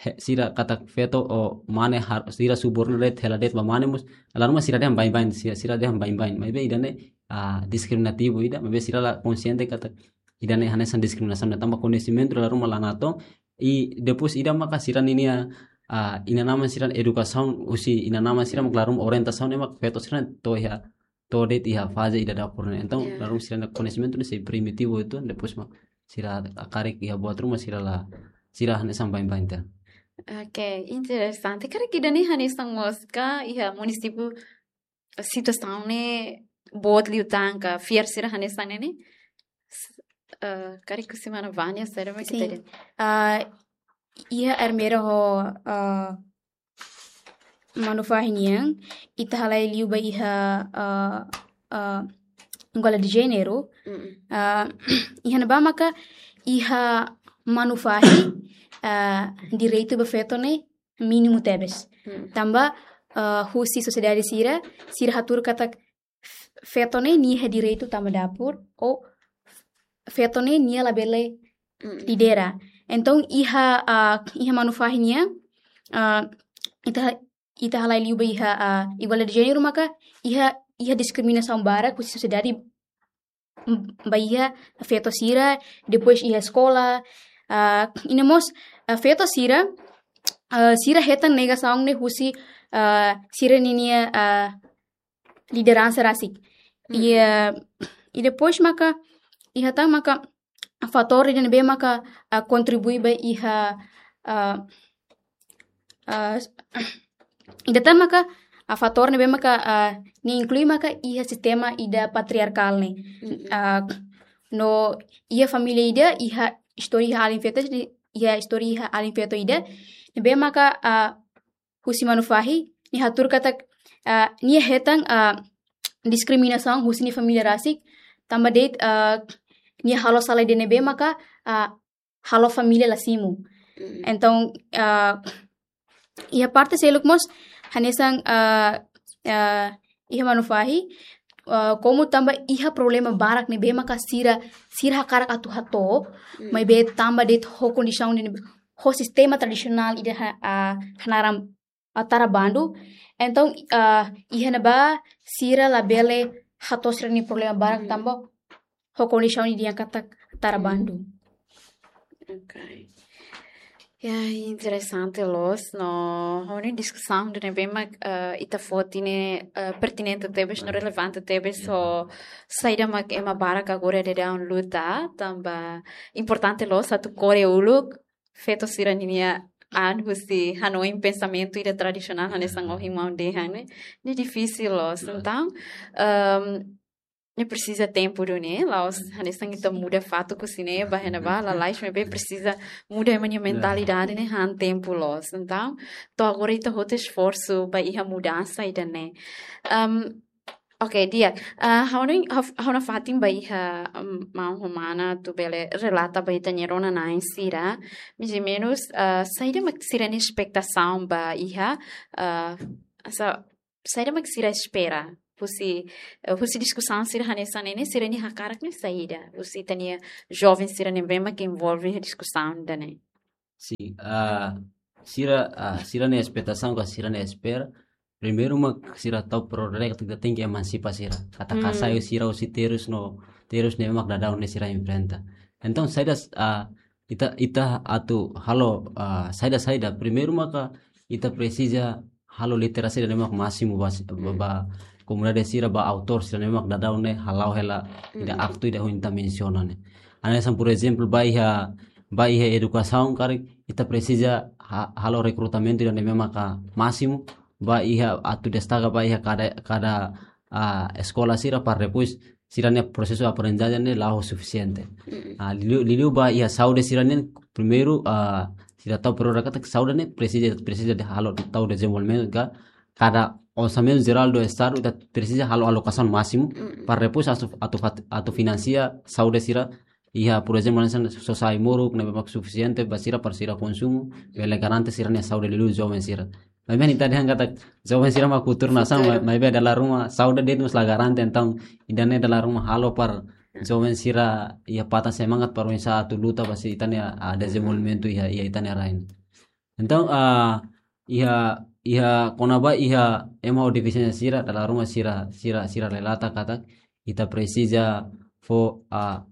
he-, sira katak feto ou mane har-, sira subornu de'it, hela de'it ba mane mós, dala ruma sira dehan baibain, sira, sira dehan baibain. Maibé ida-ne'e, ah, diskriminativu ida, maibé sira la konsiente katak ida-ne'e hanesan diskriminasaun ida tanba koñesimentu dala ruma la natoon, i depois ida maka sira ninia, ah, inan-aman sira edukasaun, husi inan-aman sira mak dala ruma orientasaun ne'e mak feto sira to'o iha, to'o de'it iha faze ida dapur ne'e. Entaun, Ya. dala ruma sira-nia koñesimentu ne'e sei primitivu uitoan, depois mak sira hakarak iha buat ruma sira la, sira hanesan baibain tiha. Oke, interesante. Karik ida-ne'e hanesan mós ka iha munisípiu situasaun ne'e boot liután ka fiar sira hanesan ne'e ne'e? S-, eh, karik husi mana Vânia, saida mak Sin. ita dehan? Ah, iha Ermera ho, ah, Manufahi nian, ita halai liu ba iha, ah, ah, igualdade de jéneru. Mm. Ah, iha ne'ebá maka iha Manufahi, ah, direitu ba feto ne'e mínimu tebes. Mm. Tanba, ah, husi sosiedade sira, sira hatuur katak f-, feto ne'e nia iha direitu tama dapur, ou f-, feto ne'e nia labele Mm. lidera. Entaun iha, ah, iha Manufahi nian, ah, ita, ita halai liu ba iha, ah, igualdade de jéneru maka iha, iha diskriminasaun barak husi sosiedade m-, ba iha feto sira, depois iha eskola, ah, i ne'e mós, ah, feto sira, ah, sira hetan negasaun ne'e husi, ah, sira ninia, ah, lideransa rasik. Mm. I, ah, i depois maka, iha tan maka, fatór ida ne'ebé maka, ah, kontribui ba iha, ah, ah, ida tan maka, ah, fatór ne'ebé maka, ah, nia inklui maka iha sistema ida patriarkál ne'e. Mm-mm. Ah, no iha família ida, iha istória iha alin feto, iha istória iha alin feto ida ne'ebé maka, ah, husi manu fahi, nia hatuur katak, ah, nia hetan, ah, diskriminasaun husi nia família rasik, tanba de'it, ah, nia halo sala ida ne'ebé maka, ah, halo família la simu. Mm. Entaun, ah, iha parte seluk mós, hanesan, ah, ah, iha manu fahi, ah, komu tanba iha problema barak ne'ebé maka sira, sira hakarak atu hato'o, Mm. maibé tanba de'it ho kondisaun ne'e, ho sistema tradisionál ida ha-, ah, hanaran, ah, tara bandu. Entaun, ah, iha ne'ebá sira labele hato'o sira-nia problema barak Mm. tanba ho kondisaun ida yang katak tara Mm. bandu. Ok. Ya, interesante loos, no, ha'u hanoin diskusaun ida ne'ebé mak, eh, ita foti ne'e, eh, pertinente tebes, no relevante tebes, Ya. ho saida mak ema barak agora daudaun luta, tanba importante loos atu kore uluk, feto sira-nia an husi hanoin pensamentu ida tradisionál, hanesan ohin maun dehan ne'e, ne'e difisil loos. Ya. Entaun, ehm, ne'e presiza tempu duni, la'ós hanesan ita muda fatuk husi ne'e ba iha ne'ebá, lalais, maibé presiza muda ema nia Ya. mentalidade ne'e han tempu loos. Entaun, to'o agora ita hotu esforsu ba iha mudansa ida-ne'e. Ehm, ok, di'ak. Ah, ha'u hanoin, ha'u, ha'u nafatin ba iha, ehm, maun ho mana atu bele relata ba ita-nia rona-na'in sira. Mais ou menus, ah, saida mak sira-nia espetasaun ba iha, ah, sa-, saida mak sira espera husi, eh, husi diskusaun sira hanesan ne'e, sira-nia hakarak ne'e saida, husi ita-nia joven sira ne'ebé mak envolve iha diskusaun ida-ne'e. Sin, ah, sira, ah, sira-nia espetasaun ka sira-nia espera, primeiru mak sira tau pro rek ita tenke emansipa sira. Katak Hmm. hasai sira husi terus no, terus ne'ebé mak daudaun ne'e sira enfrenta. Entaun, saida, ah, ita, ita atu halo, ah, saida-saida. Primeiru maka ita presiza halo literasi ida ne'ebé mak másimu ba, ba, Hmm. ba komunidade sira, ba autór sira ne'ebé mak daudaun ne'e hala'o hela ida Hmm. aktu ida ohin ita mensiona ne'e. Hanesan, por ezemplu, ba iha, ba iha edukasaun karik, ita presiza ha-, halo rekrutamentu ida ne'ebé maka másimu, ba iha atu destaka ba iha kada, kada, ah, eskola sira para depois sira-nia prosesu aprendizajen ne'e la'o sufisiente. Mm-mm. Ah, liuliu, liuliu ba iha saúde sira-nian, primeiru, ah, sira tau pro rek katak saúde ne'e presiza, presiza de halo tau dezenvolvimentu ka kada orsamentu jerál do estadu ita presiza halo alokasaun másimu Mm-mm. para depois atu, atu fat-, atu finansia saúde sira iha, por ezemplu, hanesan sosa ai-moruk ne'ebé mak sufisiente ba sira para sira konsumu, bele garante sira-nia saúde, liuliu joven sira. Maibé ita dehan katak joven sira mak futuru nasaun, Futuru. ma-, maibé dala ruma saúde de'it mós la garante, entaun ida-ne'e dala ruma halo para joven sira iha patan semangat para oinsá atu luta ba sira-nia, ah, dezenvolvimentu iha, iha ita-nia rain. Entaun, ah, iha, iha kona-ba iha ema ho defisiénsia sira, dala ruma sira, sira, sira relata katak ita presiza fó, ah,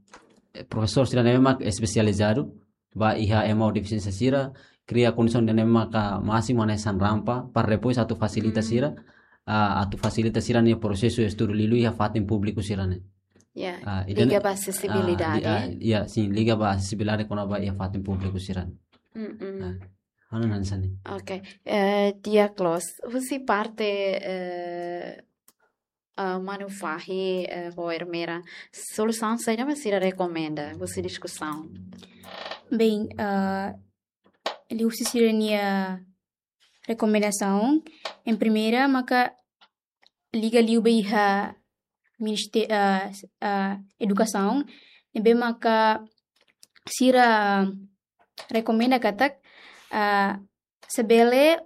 profesór sira ne'ebé mak espesializadu ba iha ema ho defisiénsia sira, kria kondisaun ida ne'ebé maka másimu hanesan rampa, para depois atu fasilita Hmm. sira, ah, atu fasilita sira-nia prosesu estudu, liuliu iha fatin públiku sira-ne'e. Ya, Ah, ida-ne'e, liga ba ah, asesibilidade. li-, ah, ya, sin, liga ba asesibilidade kona-ba iha fatin públiku sira-ne'e. Mm-mm. Ah, ha'u hanoin hanesan ne'e. Ok. Eh, di'ak loos. Husi parte, eh, ah, manu fahi, eh, ho Ermera, solusaun saida mak sira rekomenda husi diskusaun? Bem, ah, liuhusi sira-nia rekomendasaun, em primeira, maka liga liu ba iha ministé-, ah, s-, ah, edukasaun, ne'ebé maka sira rekomenda katak, ah, se bele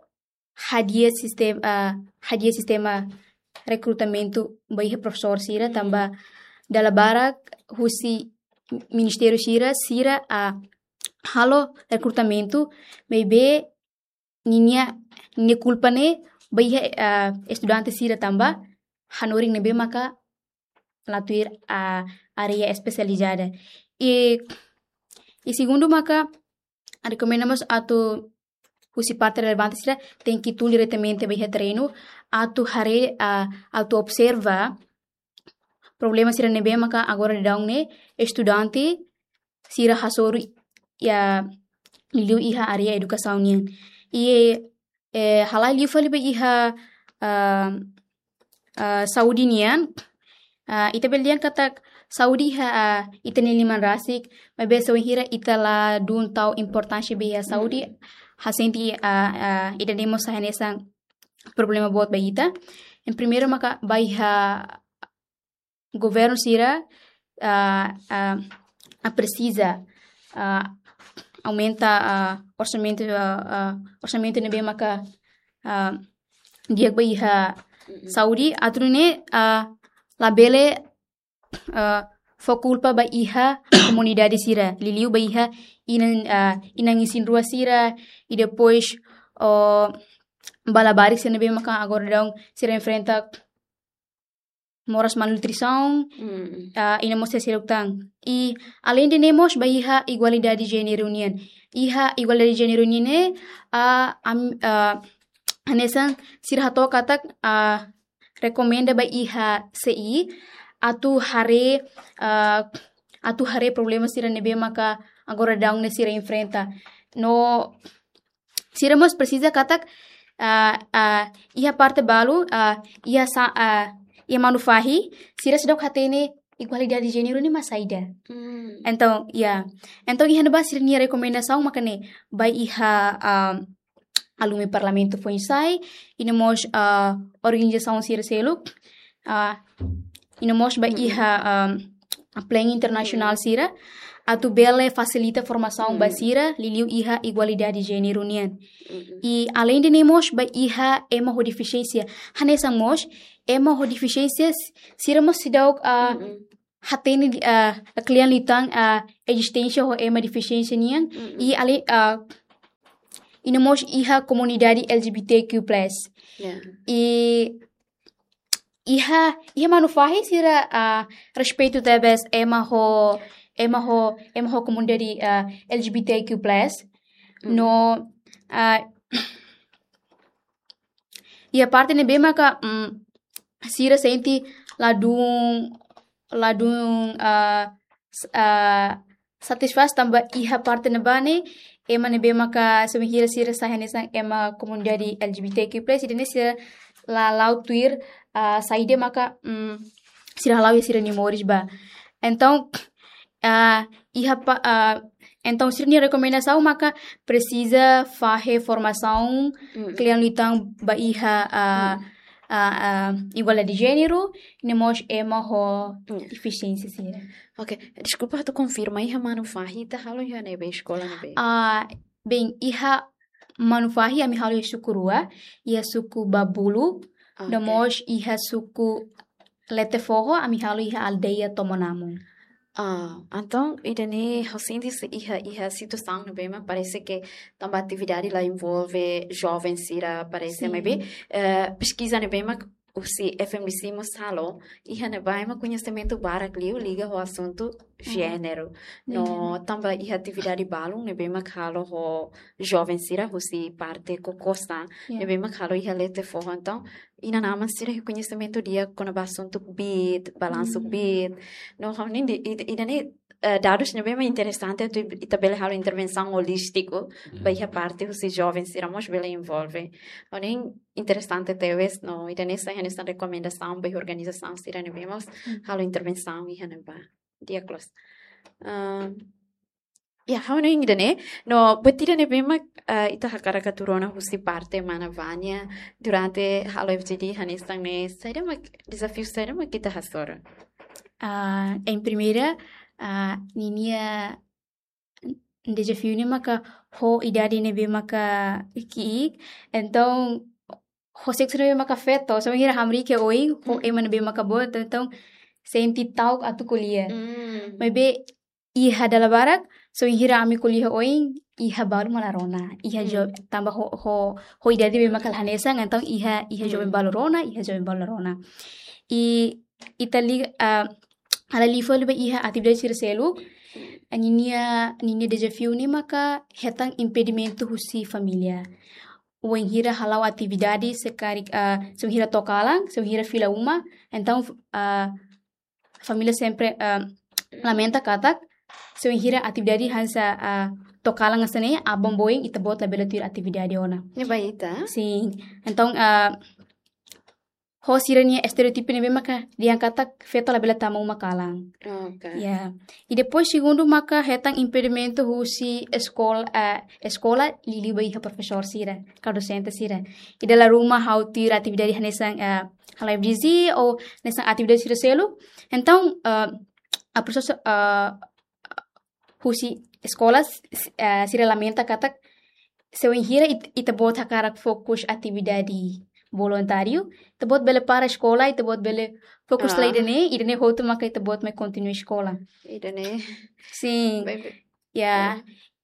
hadi'a sistem-, ah, hadi'a sistema rekrutamentu ba iha profesór sira, tanba dala barak husi ministériu sira, sira, ah, halo rekrutamentu, maibé ninia, ninia kulpa ne'e ba iha, ah, estudante sira tanba hanorin ne'ebé maka la tuir, ah, área espesializada. I, i segundu maka rekomenda mós atu husi parte relevante sira tenke tun diretamente ba iha terrenu atu haree, ah, atu observa problema sira ne'ebé maka agora daudaun ne'e estudante sira hasoru iha liuliu iha área edukasaun nian. I, eh, halai liu fali ba iha, ah, ah, saúde nian. Ah, ita bele dehan katak saúde iha, ah, ita-nia liman rasik, maibé se wainhira ita la dun tau importánsia ba iha saúde, ha'u sente, ah, ah, ida-ne'e mós sai hanesan problema boot ba ita. Yang primeiru maka ba iha governu sira, ah, ah, ah, presiza, ah, aumenta, ah, orsamentu, ah, ah, orsamentu ne'ebé maka, ah, di'ak ba iha saúde, atu nune'e, ah, labele, ah, fó kulpa ba iha komunidade sira, liuliu ba iha inan, ah, inan isin-rua sira, i depois, oh, ba labarik sira ne'ebé maka agora daudaun sira enfrenta moras malnutrisaun, ah, i no mós seluk tan. I alende ne'e mós ba iha igualdade jéneru nian. Iha igualdade jéneru nian ne'e, ah, am-, ah, hanesan sira hato'o katak, ah, rekomenda ba iha C I atu haree, ah, atu haree problema sira ne'ebé maka agora daudaun ne'e sira enfrenta. No sira mós presiza katak, ah, ah, iha parte balu, ah, iha sa-, ah, iha manu fahi, sira seidauk hatene igualdade jéneru ne'e mak saida. Entaun, ya. Entaun iha ne'ebá sira-nia rekomendasaun maka ne'e ba iha, ah, alumi parlamentu foin-sa'e, i no mós, ah, organizasaun sira seluk, ah, i no mós ba iha, ah, plein internasionál sira, atu bele fasilita formasaun ba sira, liuliu iha igualdade jéneru nian. I alende ne'e mós ba iha ema ho defisiénsia. Hanesan mós, ema ho defisiénsia s-, sira mós seidauk, ah, hatene, ah, kle'an liután, ah, ezisténsia ho ema defisiénsia nian. I ale-, ah, i no mós iha komunidade L G B T Q plus. Ya. I iha, iha manu fahi sira, ah, respeitu tebes ema ho, ema ho, ema ho komunidade, ah, L G B T Q plus. No, ah, iha parte ne'ebé maka, mm, sira sente ladún, ladún, ah, s-, ah, satisfás tanba iha parte ne'ebá ne'e, ema ne'ebé maka se wainhira sira sai hanesan ema komunidade L G B T Q plus, ida-ne'e sira la la'o tuir, ah, saida maka, mm, sira hala'o iha sira-nia moris ba. Entaun, ah, iha pa-, ah, entaun sira-nia rekomendasaun maka presiza fahe formasaun kle'an liután ba iha, ah, ah, ah, igualdade jéneru, i no mós ema ho defisiénsia sira. Ok, deskulpa, atu konfirma, iha manu fahi ita halo iha ne'ebé, eskola ne'ebé? Ah, bem, iha manu fahi ami halo iha suku rua, iha suku Babulu, no mós iha suku Lete Foho, ami halo iha aldeia Tomonamu. Ah, entaun, ida-ne'e ha'u sente se iha, iha situasaun ne'ebé mak parese ke tanba atividade la envolve joven sira, parese, maibé, eh, peskiza ne'ebé mak husi F M D C mós halo, iha ne'ebá ema koñesimentu barak liu liga ho asuntu jéneru. No tanba iha atividade balun ne'ebé mak halo ho joven sira husi parte KOKOSA, ne'ebé mak halo iha Lete Foho. Entaun, inan-aman sira iha koñesimentu di'ak kona-ba asuntu kbiit, balansu kbiit. No, ha'u hanoin ida-, ida-ne'e, eh, dadus ne'ebé mak interesante atu ita bele halo intervensaun holístiku ba iha parte husi joven sira mós bele envolve. Ha'u hanoin interesante tebes, no ida-ne'e sai hanesan rekomendasaun ba iha organizasaun sira ne'ebé mós halo intervensaun iha ne'ebá. Di'ak loos. Ah, ya, ha'u hanoin ida-ne'e, no buat ida ne'ebé mak, ah, ita hakarak atu rona husi parte mana Vânia durante halo F G D hanesan ne'e, saida mak dezafiu saida mak ita hasoru? Ah, em primeira, ah, ninia dezafiu ne'e maka ho idade ne'ebé maka ki'ik, entaun ho seksu ne'ebé maka feto, se wainhira hamriik iha oin, ho ema ne'ebé maka boot, entaun sente ta'uk atu ko'alia. Maibé iha dala barak, se wainhira ami ko'alia iha oin, iha balu mak la rona, iha jo-, tanba ho, ho, ho idade ne'ebé maka la hanesan, entaun iha, iha joven balu rona, iha joven balu la rona. I ita li-, ah, halai liu fali ba iha atividade sira seluk, ninia, ninia dezafiu ne'e maka hetan impedimentu husi família. Wainhira hala'o atividade se karik, ah, se wainhira to'o kalan, se wainhira fila uma, entaun, ah, família sempre, ah, lamenta katak, se wainhira atividade hanesan, ah, to'o kalan hanesan ne'e, aban-bainrua ita-boot labele tuir atividade ona. Ne'e ba ita? Sin. Entaun, ah, ho sira-nia estereótipu ne'ebé maka dehan katak feto labele tama uma kalan. Oke. Ya. I depois segundu maka hetan impedimentu husi eskola, ah, eskola liuliu ba iha profesór sira, ka dosente sira. I dala ruma ha'u tuir atividade hanesan, ah, halai vizi ou hanesan atividade sira seluk. Entaun, ah, a prosesu, ah, husi eskola, s-, s-, eh, sira lamenta katak se wainhira it-, ita-boot hakarak fokus atividade voluntáriu, ita-boot bele para eskola, ita-boot bele fokus Ah. la ida-ne'e, ida-ne'e hotu maka ita-boot mai kontinua eskola. Ida-ne'e. Sin. Baik, baik. Ya, Ah.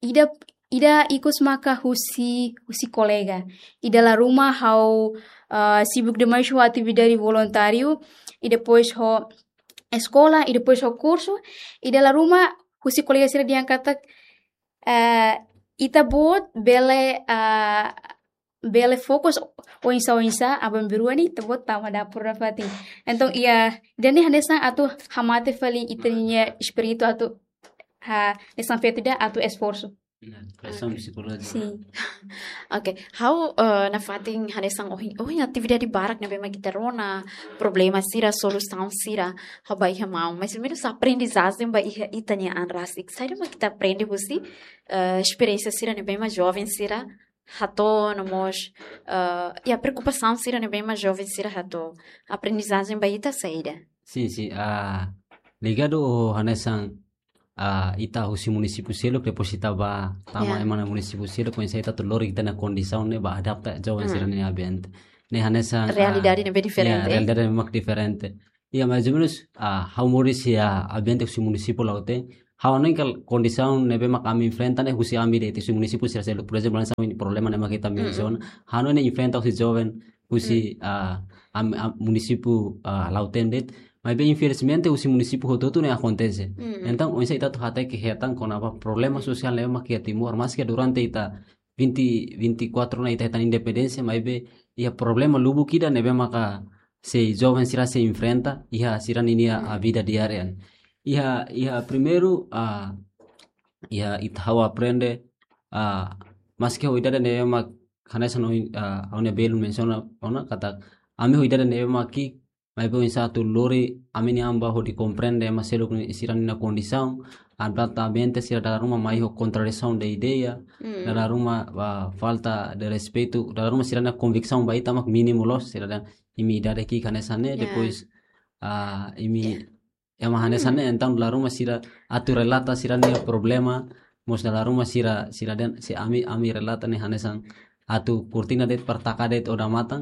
ida, ida ikus maka husi, husi kolega. I dala ruma ha'u, ah, sibuk demais ho atividade voluntáriu, i depois ho eskola, i depois ho kursu, i dala ruma husi kolega sira dehan katak, eh, ita-boot bele, ah, bele fokus oinsá-oinsá, aban-bainrua ne'e ita-boot tama dapur nafatin. Entaun, iha, ida-ne'e hanesan atu hamate fali ita-nia espíritu atu, ha, hanesan feto ida atu esforsu. Nah, pressão Oke. psicológica. Sin. Oke, ha'u, eh, nafatin hanesan ohin, ohin atividade barak ne'ebé mak ita rona, problema sira, solusaun sira, ha'u ba iha maun. Mais ou menus aprendizajen ba iha ita-nia an rasik. Saida mak ita aprende husi, eh, esperiénsia sira ne'ebé mak joven sira hato'o, no mós, eh, iha preokupasaun sira ne'ebé mak joven sira hato'o. Aprendizajen ba ita saida? Sin, sin. Ah, ligadu ho hanesan, ah, ita husi munisípiu seluk, depois ita ba tama Ya. ema iha munisípiu seluk, oinsá ita atu lori ita-nia kondisaun ne'e ba adapta joven Hmm. sira-nia ambiente. Ne'e hanesan, ah, Realidade ne'ebé ya, diferente. realidade ne'ebé mak diferente. Ya, mais ou menus, ah, ha'u moris iha ambiente husi munisípiu Lautém. Ha'u hanoin katak kondisaun ne'ebé mak ami enfrenta ne'e husi ami de'it, husi munisípiu sira seluk. Por ezemplu, hanesan problema ne'ebé mak ita Mm-mm. mensiona. Ha'u hanoin ne'e enfrenta husi joven husi, Mm. ah, am-, am-, munisípiu, ah, Lautém de'it. Maibé infelizmente husi munisípiu hotu-hotu ne'e akontese. Mm. Entaun, oinsá ita atu hateke hetan kona-ba problema sosiál ne'ebé mak iha Timor, maske durante ita vinte, vinte e quatro ona ita hetan independénsia, maibé iha problema lubuk ida ne'ebé maka sei joven sira sei enfrenta iha sira-ninia Mm. a vida diária. Iha, iha primeiru, ah, iha ita ha'u aprende, ah, maske ho idade ne'ebé mak hanesan ohin, ah, ha'u-nia belun mensiona ona katak ami ho idade ne'ebé mak ki'ik, maibé oinsá atu lori ami-nia an ba hodi komprende ema seluk nia, sira-nia kondisaun, adapta ambiente sira dala ruma mai ho kontradisaun de ideia, Mm. dala ruma, ah, falta de respeitu, dala ruma sira-nia konviksaun ba ita mak mínimu loos, sira dehan imi idade ki'ik hanesan ne'e, Ya. depois, ah, imi Ya. ema hanesan ne'e, Mm. entaun dala ruma sira atu relata sira-nia problema, mós dala ruma sira, sira dehan se ami, ami relata ne'e hanesan atu kurtina de'it, para taka de'it odamatan,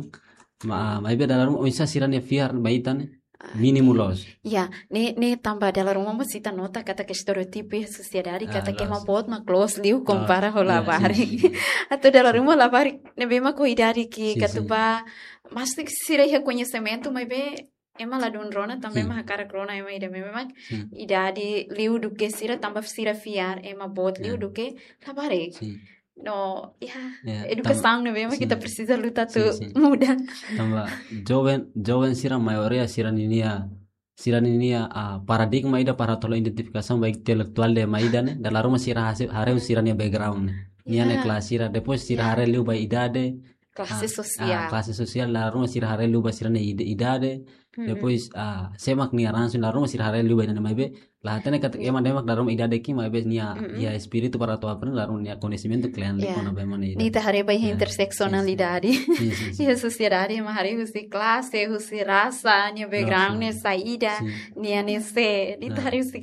ma, maibé dala ruma oinsá sira-nia fiar ba ita ne'e Ah, mínimu loos. Ya, ne'e, ne'e tanba dala ruma mós ita nota katak estereótipu iha sosiedade, Ah, katak ema loos. boot mak loos liu Loos. kompara ho Ya, labarik. sin, sin. Atu dala ruma labarik ne'ebé mak ho idade ki'ik Sin, sin. katuba, maske sira iha koñesimentu, maibé ema ladún rona, tanba Sin. ema hakarak rona ema ida ne'ebé mak Sin. idade liu duké sira, tanba sira fiar ema boot liu Ya. duké labarik. Sin. No, ya, Ya, edukasaun tam-, ne'ebé mak sin. ita presiza luta Sin, atu sin. muda. Tanba joven, joven sira maioria sira-ninia, sira-ninia, ah, paradigma ida para atu halo identifikasaun ba intelektuál de ema ida ne'e, dala ruma sira hase-, haree sira-nia background ne'e. Nia ne'e Ya. kelas sira, depois sira Ya. haree liu ba idade, Klase ah, sosiál. ah, klase sosiál, dala ruma sira haree liu ba sira-nia id-, idade, Hmm. depois, ah, sé mak nia ransu, dala ruma sira haree liu ba ida-ne'e, maibé la hatene katak Ya. ema ne'e mak dala ruma idade ki'ik, maibé nia, Mm-mm. nia espíritu para atu aprende, dala ruma nia koñesimentu kle'an liu Ya. kona-ba ema nia idade. Ne'e ita haree ba iha Ya. interseksionalidade. Sin, sin, sin. Iha sosiedade ema haree husi klase, husi rasa, nia Rasa. background ne'e saida, Sin. nia ne'e sé, ne'e ita Ah. haree husi,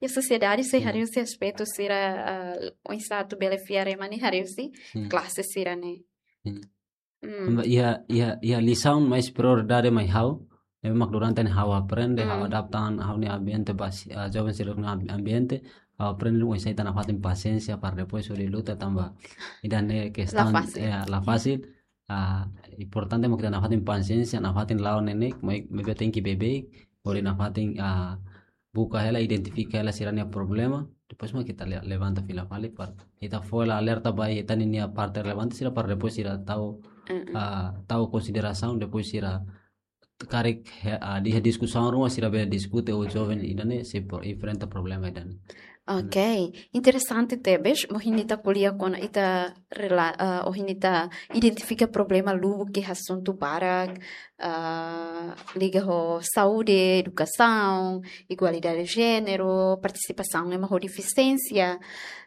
iha sosiedade sei Hmm. haree husi aspetu sira, ah, oinsá atu bele fiar ema ne'e haree husi Hmm. klase sira-ne'e. Hmm. Hmm. Tanba iha, iha, iha lisaun mais prioridade mai ha'u, ne'ebé mak durante ne'e ha'u aprende, ha'u Hmm. adapta an ha'u-nia ambiente ba si-, ah, joven seluk nia am-, ambiente, ha'u aprende oinsá ita nafatin pasiénsia para depois hodi luta tanba ida-ne'e La kestaun, fasil. eh, la fasil. Ah, importante mak ita nafatin pasiénsia, nafatin la'o neineik, mai, maibé tenke beibeik, hodi nafatin, ah, buka hela, identifika hela sira-nia problema, depois mak ita le-, levanta fila fali para ita fó hela alerta ba ita-ninia parte relevante sira para depois sira tau, Mm-mm. ah, tau konsiderasaun, depois sira karik he- ah, iha diskusaun ruma sira bele diskute ho joven ida-ne'e sei pro- enfrenta problema ida-ne'e. Ok, interesante tebes, ohin ita ko'alia kona-ba ita rela- ah, ohin ita identifika problema lubuk iha asuntu barak, ah, liga ho saúde, edukasaun, igualdade de jéneru, partisipasaun ema ho defisiénsia.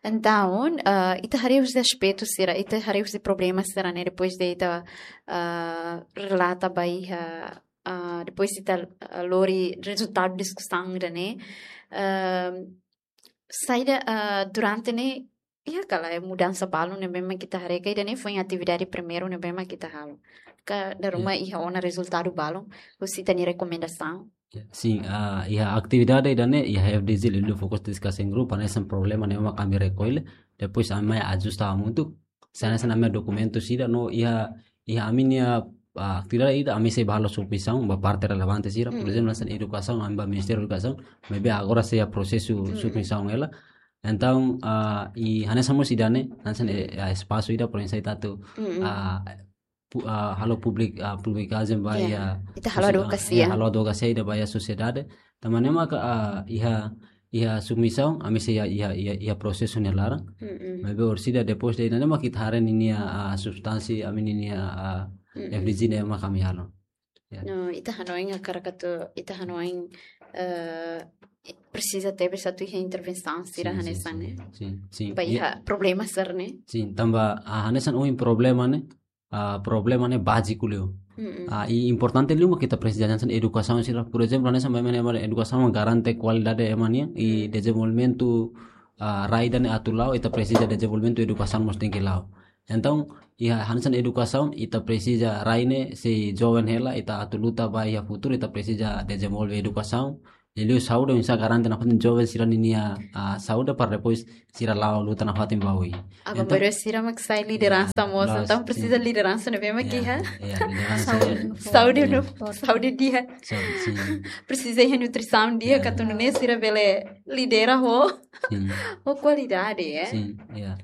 Entaun, ah, ita haree husi aspetu sira, ita haree husi problema sira-ne'e, depois de ita ah, relata ba iha, ah, depois ita ah, lori rezultadu diskusaun ida-ne'e. Ah, saida, ah, durante ne'e, iha kala mudansa balun ne'ebé mak ita haree ka ida-ne'e foin atividade primeiru ne'ebé mak ita halo? Ka dala ruma iha ona rezultadu balun husi ita-nia rekomendasaun? Ya, sin, ah, iha atividade ida-ne'e, iha F D G liuliu fokus diskusaun grupu, hanesan problema ne'ebé mak ami rekolle, depois ami mai ajusta hamutuk, hanesan ami dokumentu sira no iha, iha ami-nia, ah, atividade ida ami sei ba halo submisaun ba parte relevante sira, por ezemplu, hanesan edukasaun, ami ba Ministériu Edukasaun, maibé agora sei iha prosesu submisaun hela. Entaun, ah, i hanesan mós ida-ne'e, hanesan, eh, ah, espasu ida, por ezemplu, ita atu, ah, pu- ah, halo publik ah, publikasaun ba iha Ita halo sosi- advokasia. ah, ya, halo advokasia ida ba iha sosiedade. Tanba ne'e maka, ah, iha iha submisaun, ami sei iha iha iha, iha prosesu nia laran. Mm-mm. Maibé orsida depois de ne'e maka ita haree ninia, ah, substansi, ami ninia, ah, Mm-mm. F D G ne'e maka ami halo. Ya. No, ita hanoin hakarak atu, ita hanoin, eh, presiza tebes atu iha intervensaun sira Sin, sin, hanesan sin, ne'e. sin, sin. Ba Ya, iha problema sira-ne'e. sin, tanba, ah, hanesan ohin problema ne'e, ah, problema ne'e báziku liu. Mm-mm. Ah, i importante liu mak ita presiza hanesan edukasaun sira. Por ezemplu, hanesan ba ema ne'e edukasaun garante kualidade ema nian, i dezenvolvimentu, ah, rai ida-ne'e atu la'o, ita presiza dezenvolvimentu edukasaun mós tenke la'o. Entaun, iha hanesan edukasaun, ita presiza rai ne'e sei joven hela, ita atu luta ba iha futuru, ita presiza dezenvolve edukasaun. Liuliu saúde, oinsá garante nafatin joven sira ninia, ah, saúde para depois sira la'o luta nafatin ba oin. Agora Entaun, baru sira mak sai lideransa Ya, mós, loos, entaun presiza sin. Lideransa ne'ebé mak Ya, iha. Ya, lideransa. Saúde, saúde Ya. No, saúde di'ak. Saúde, sin. Presiza iha nutrisaun di'ak, Ya. ka atu nune'e sira bele lidera ho, Sin. ho kualidade, eh? Sin, ya.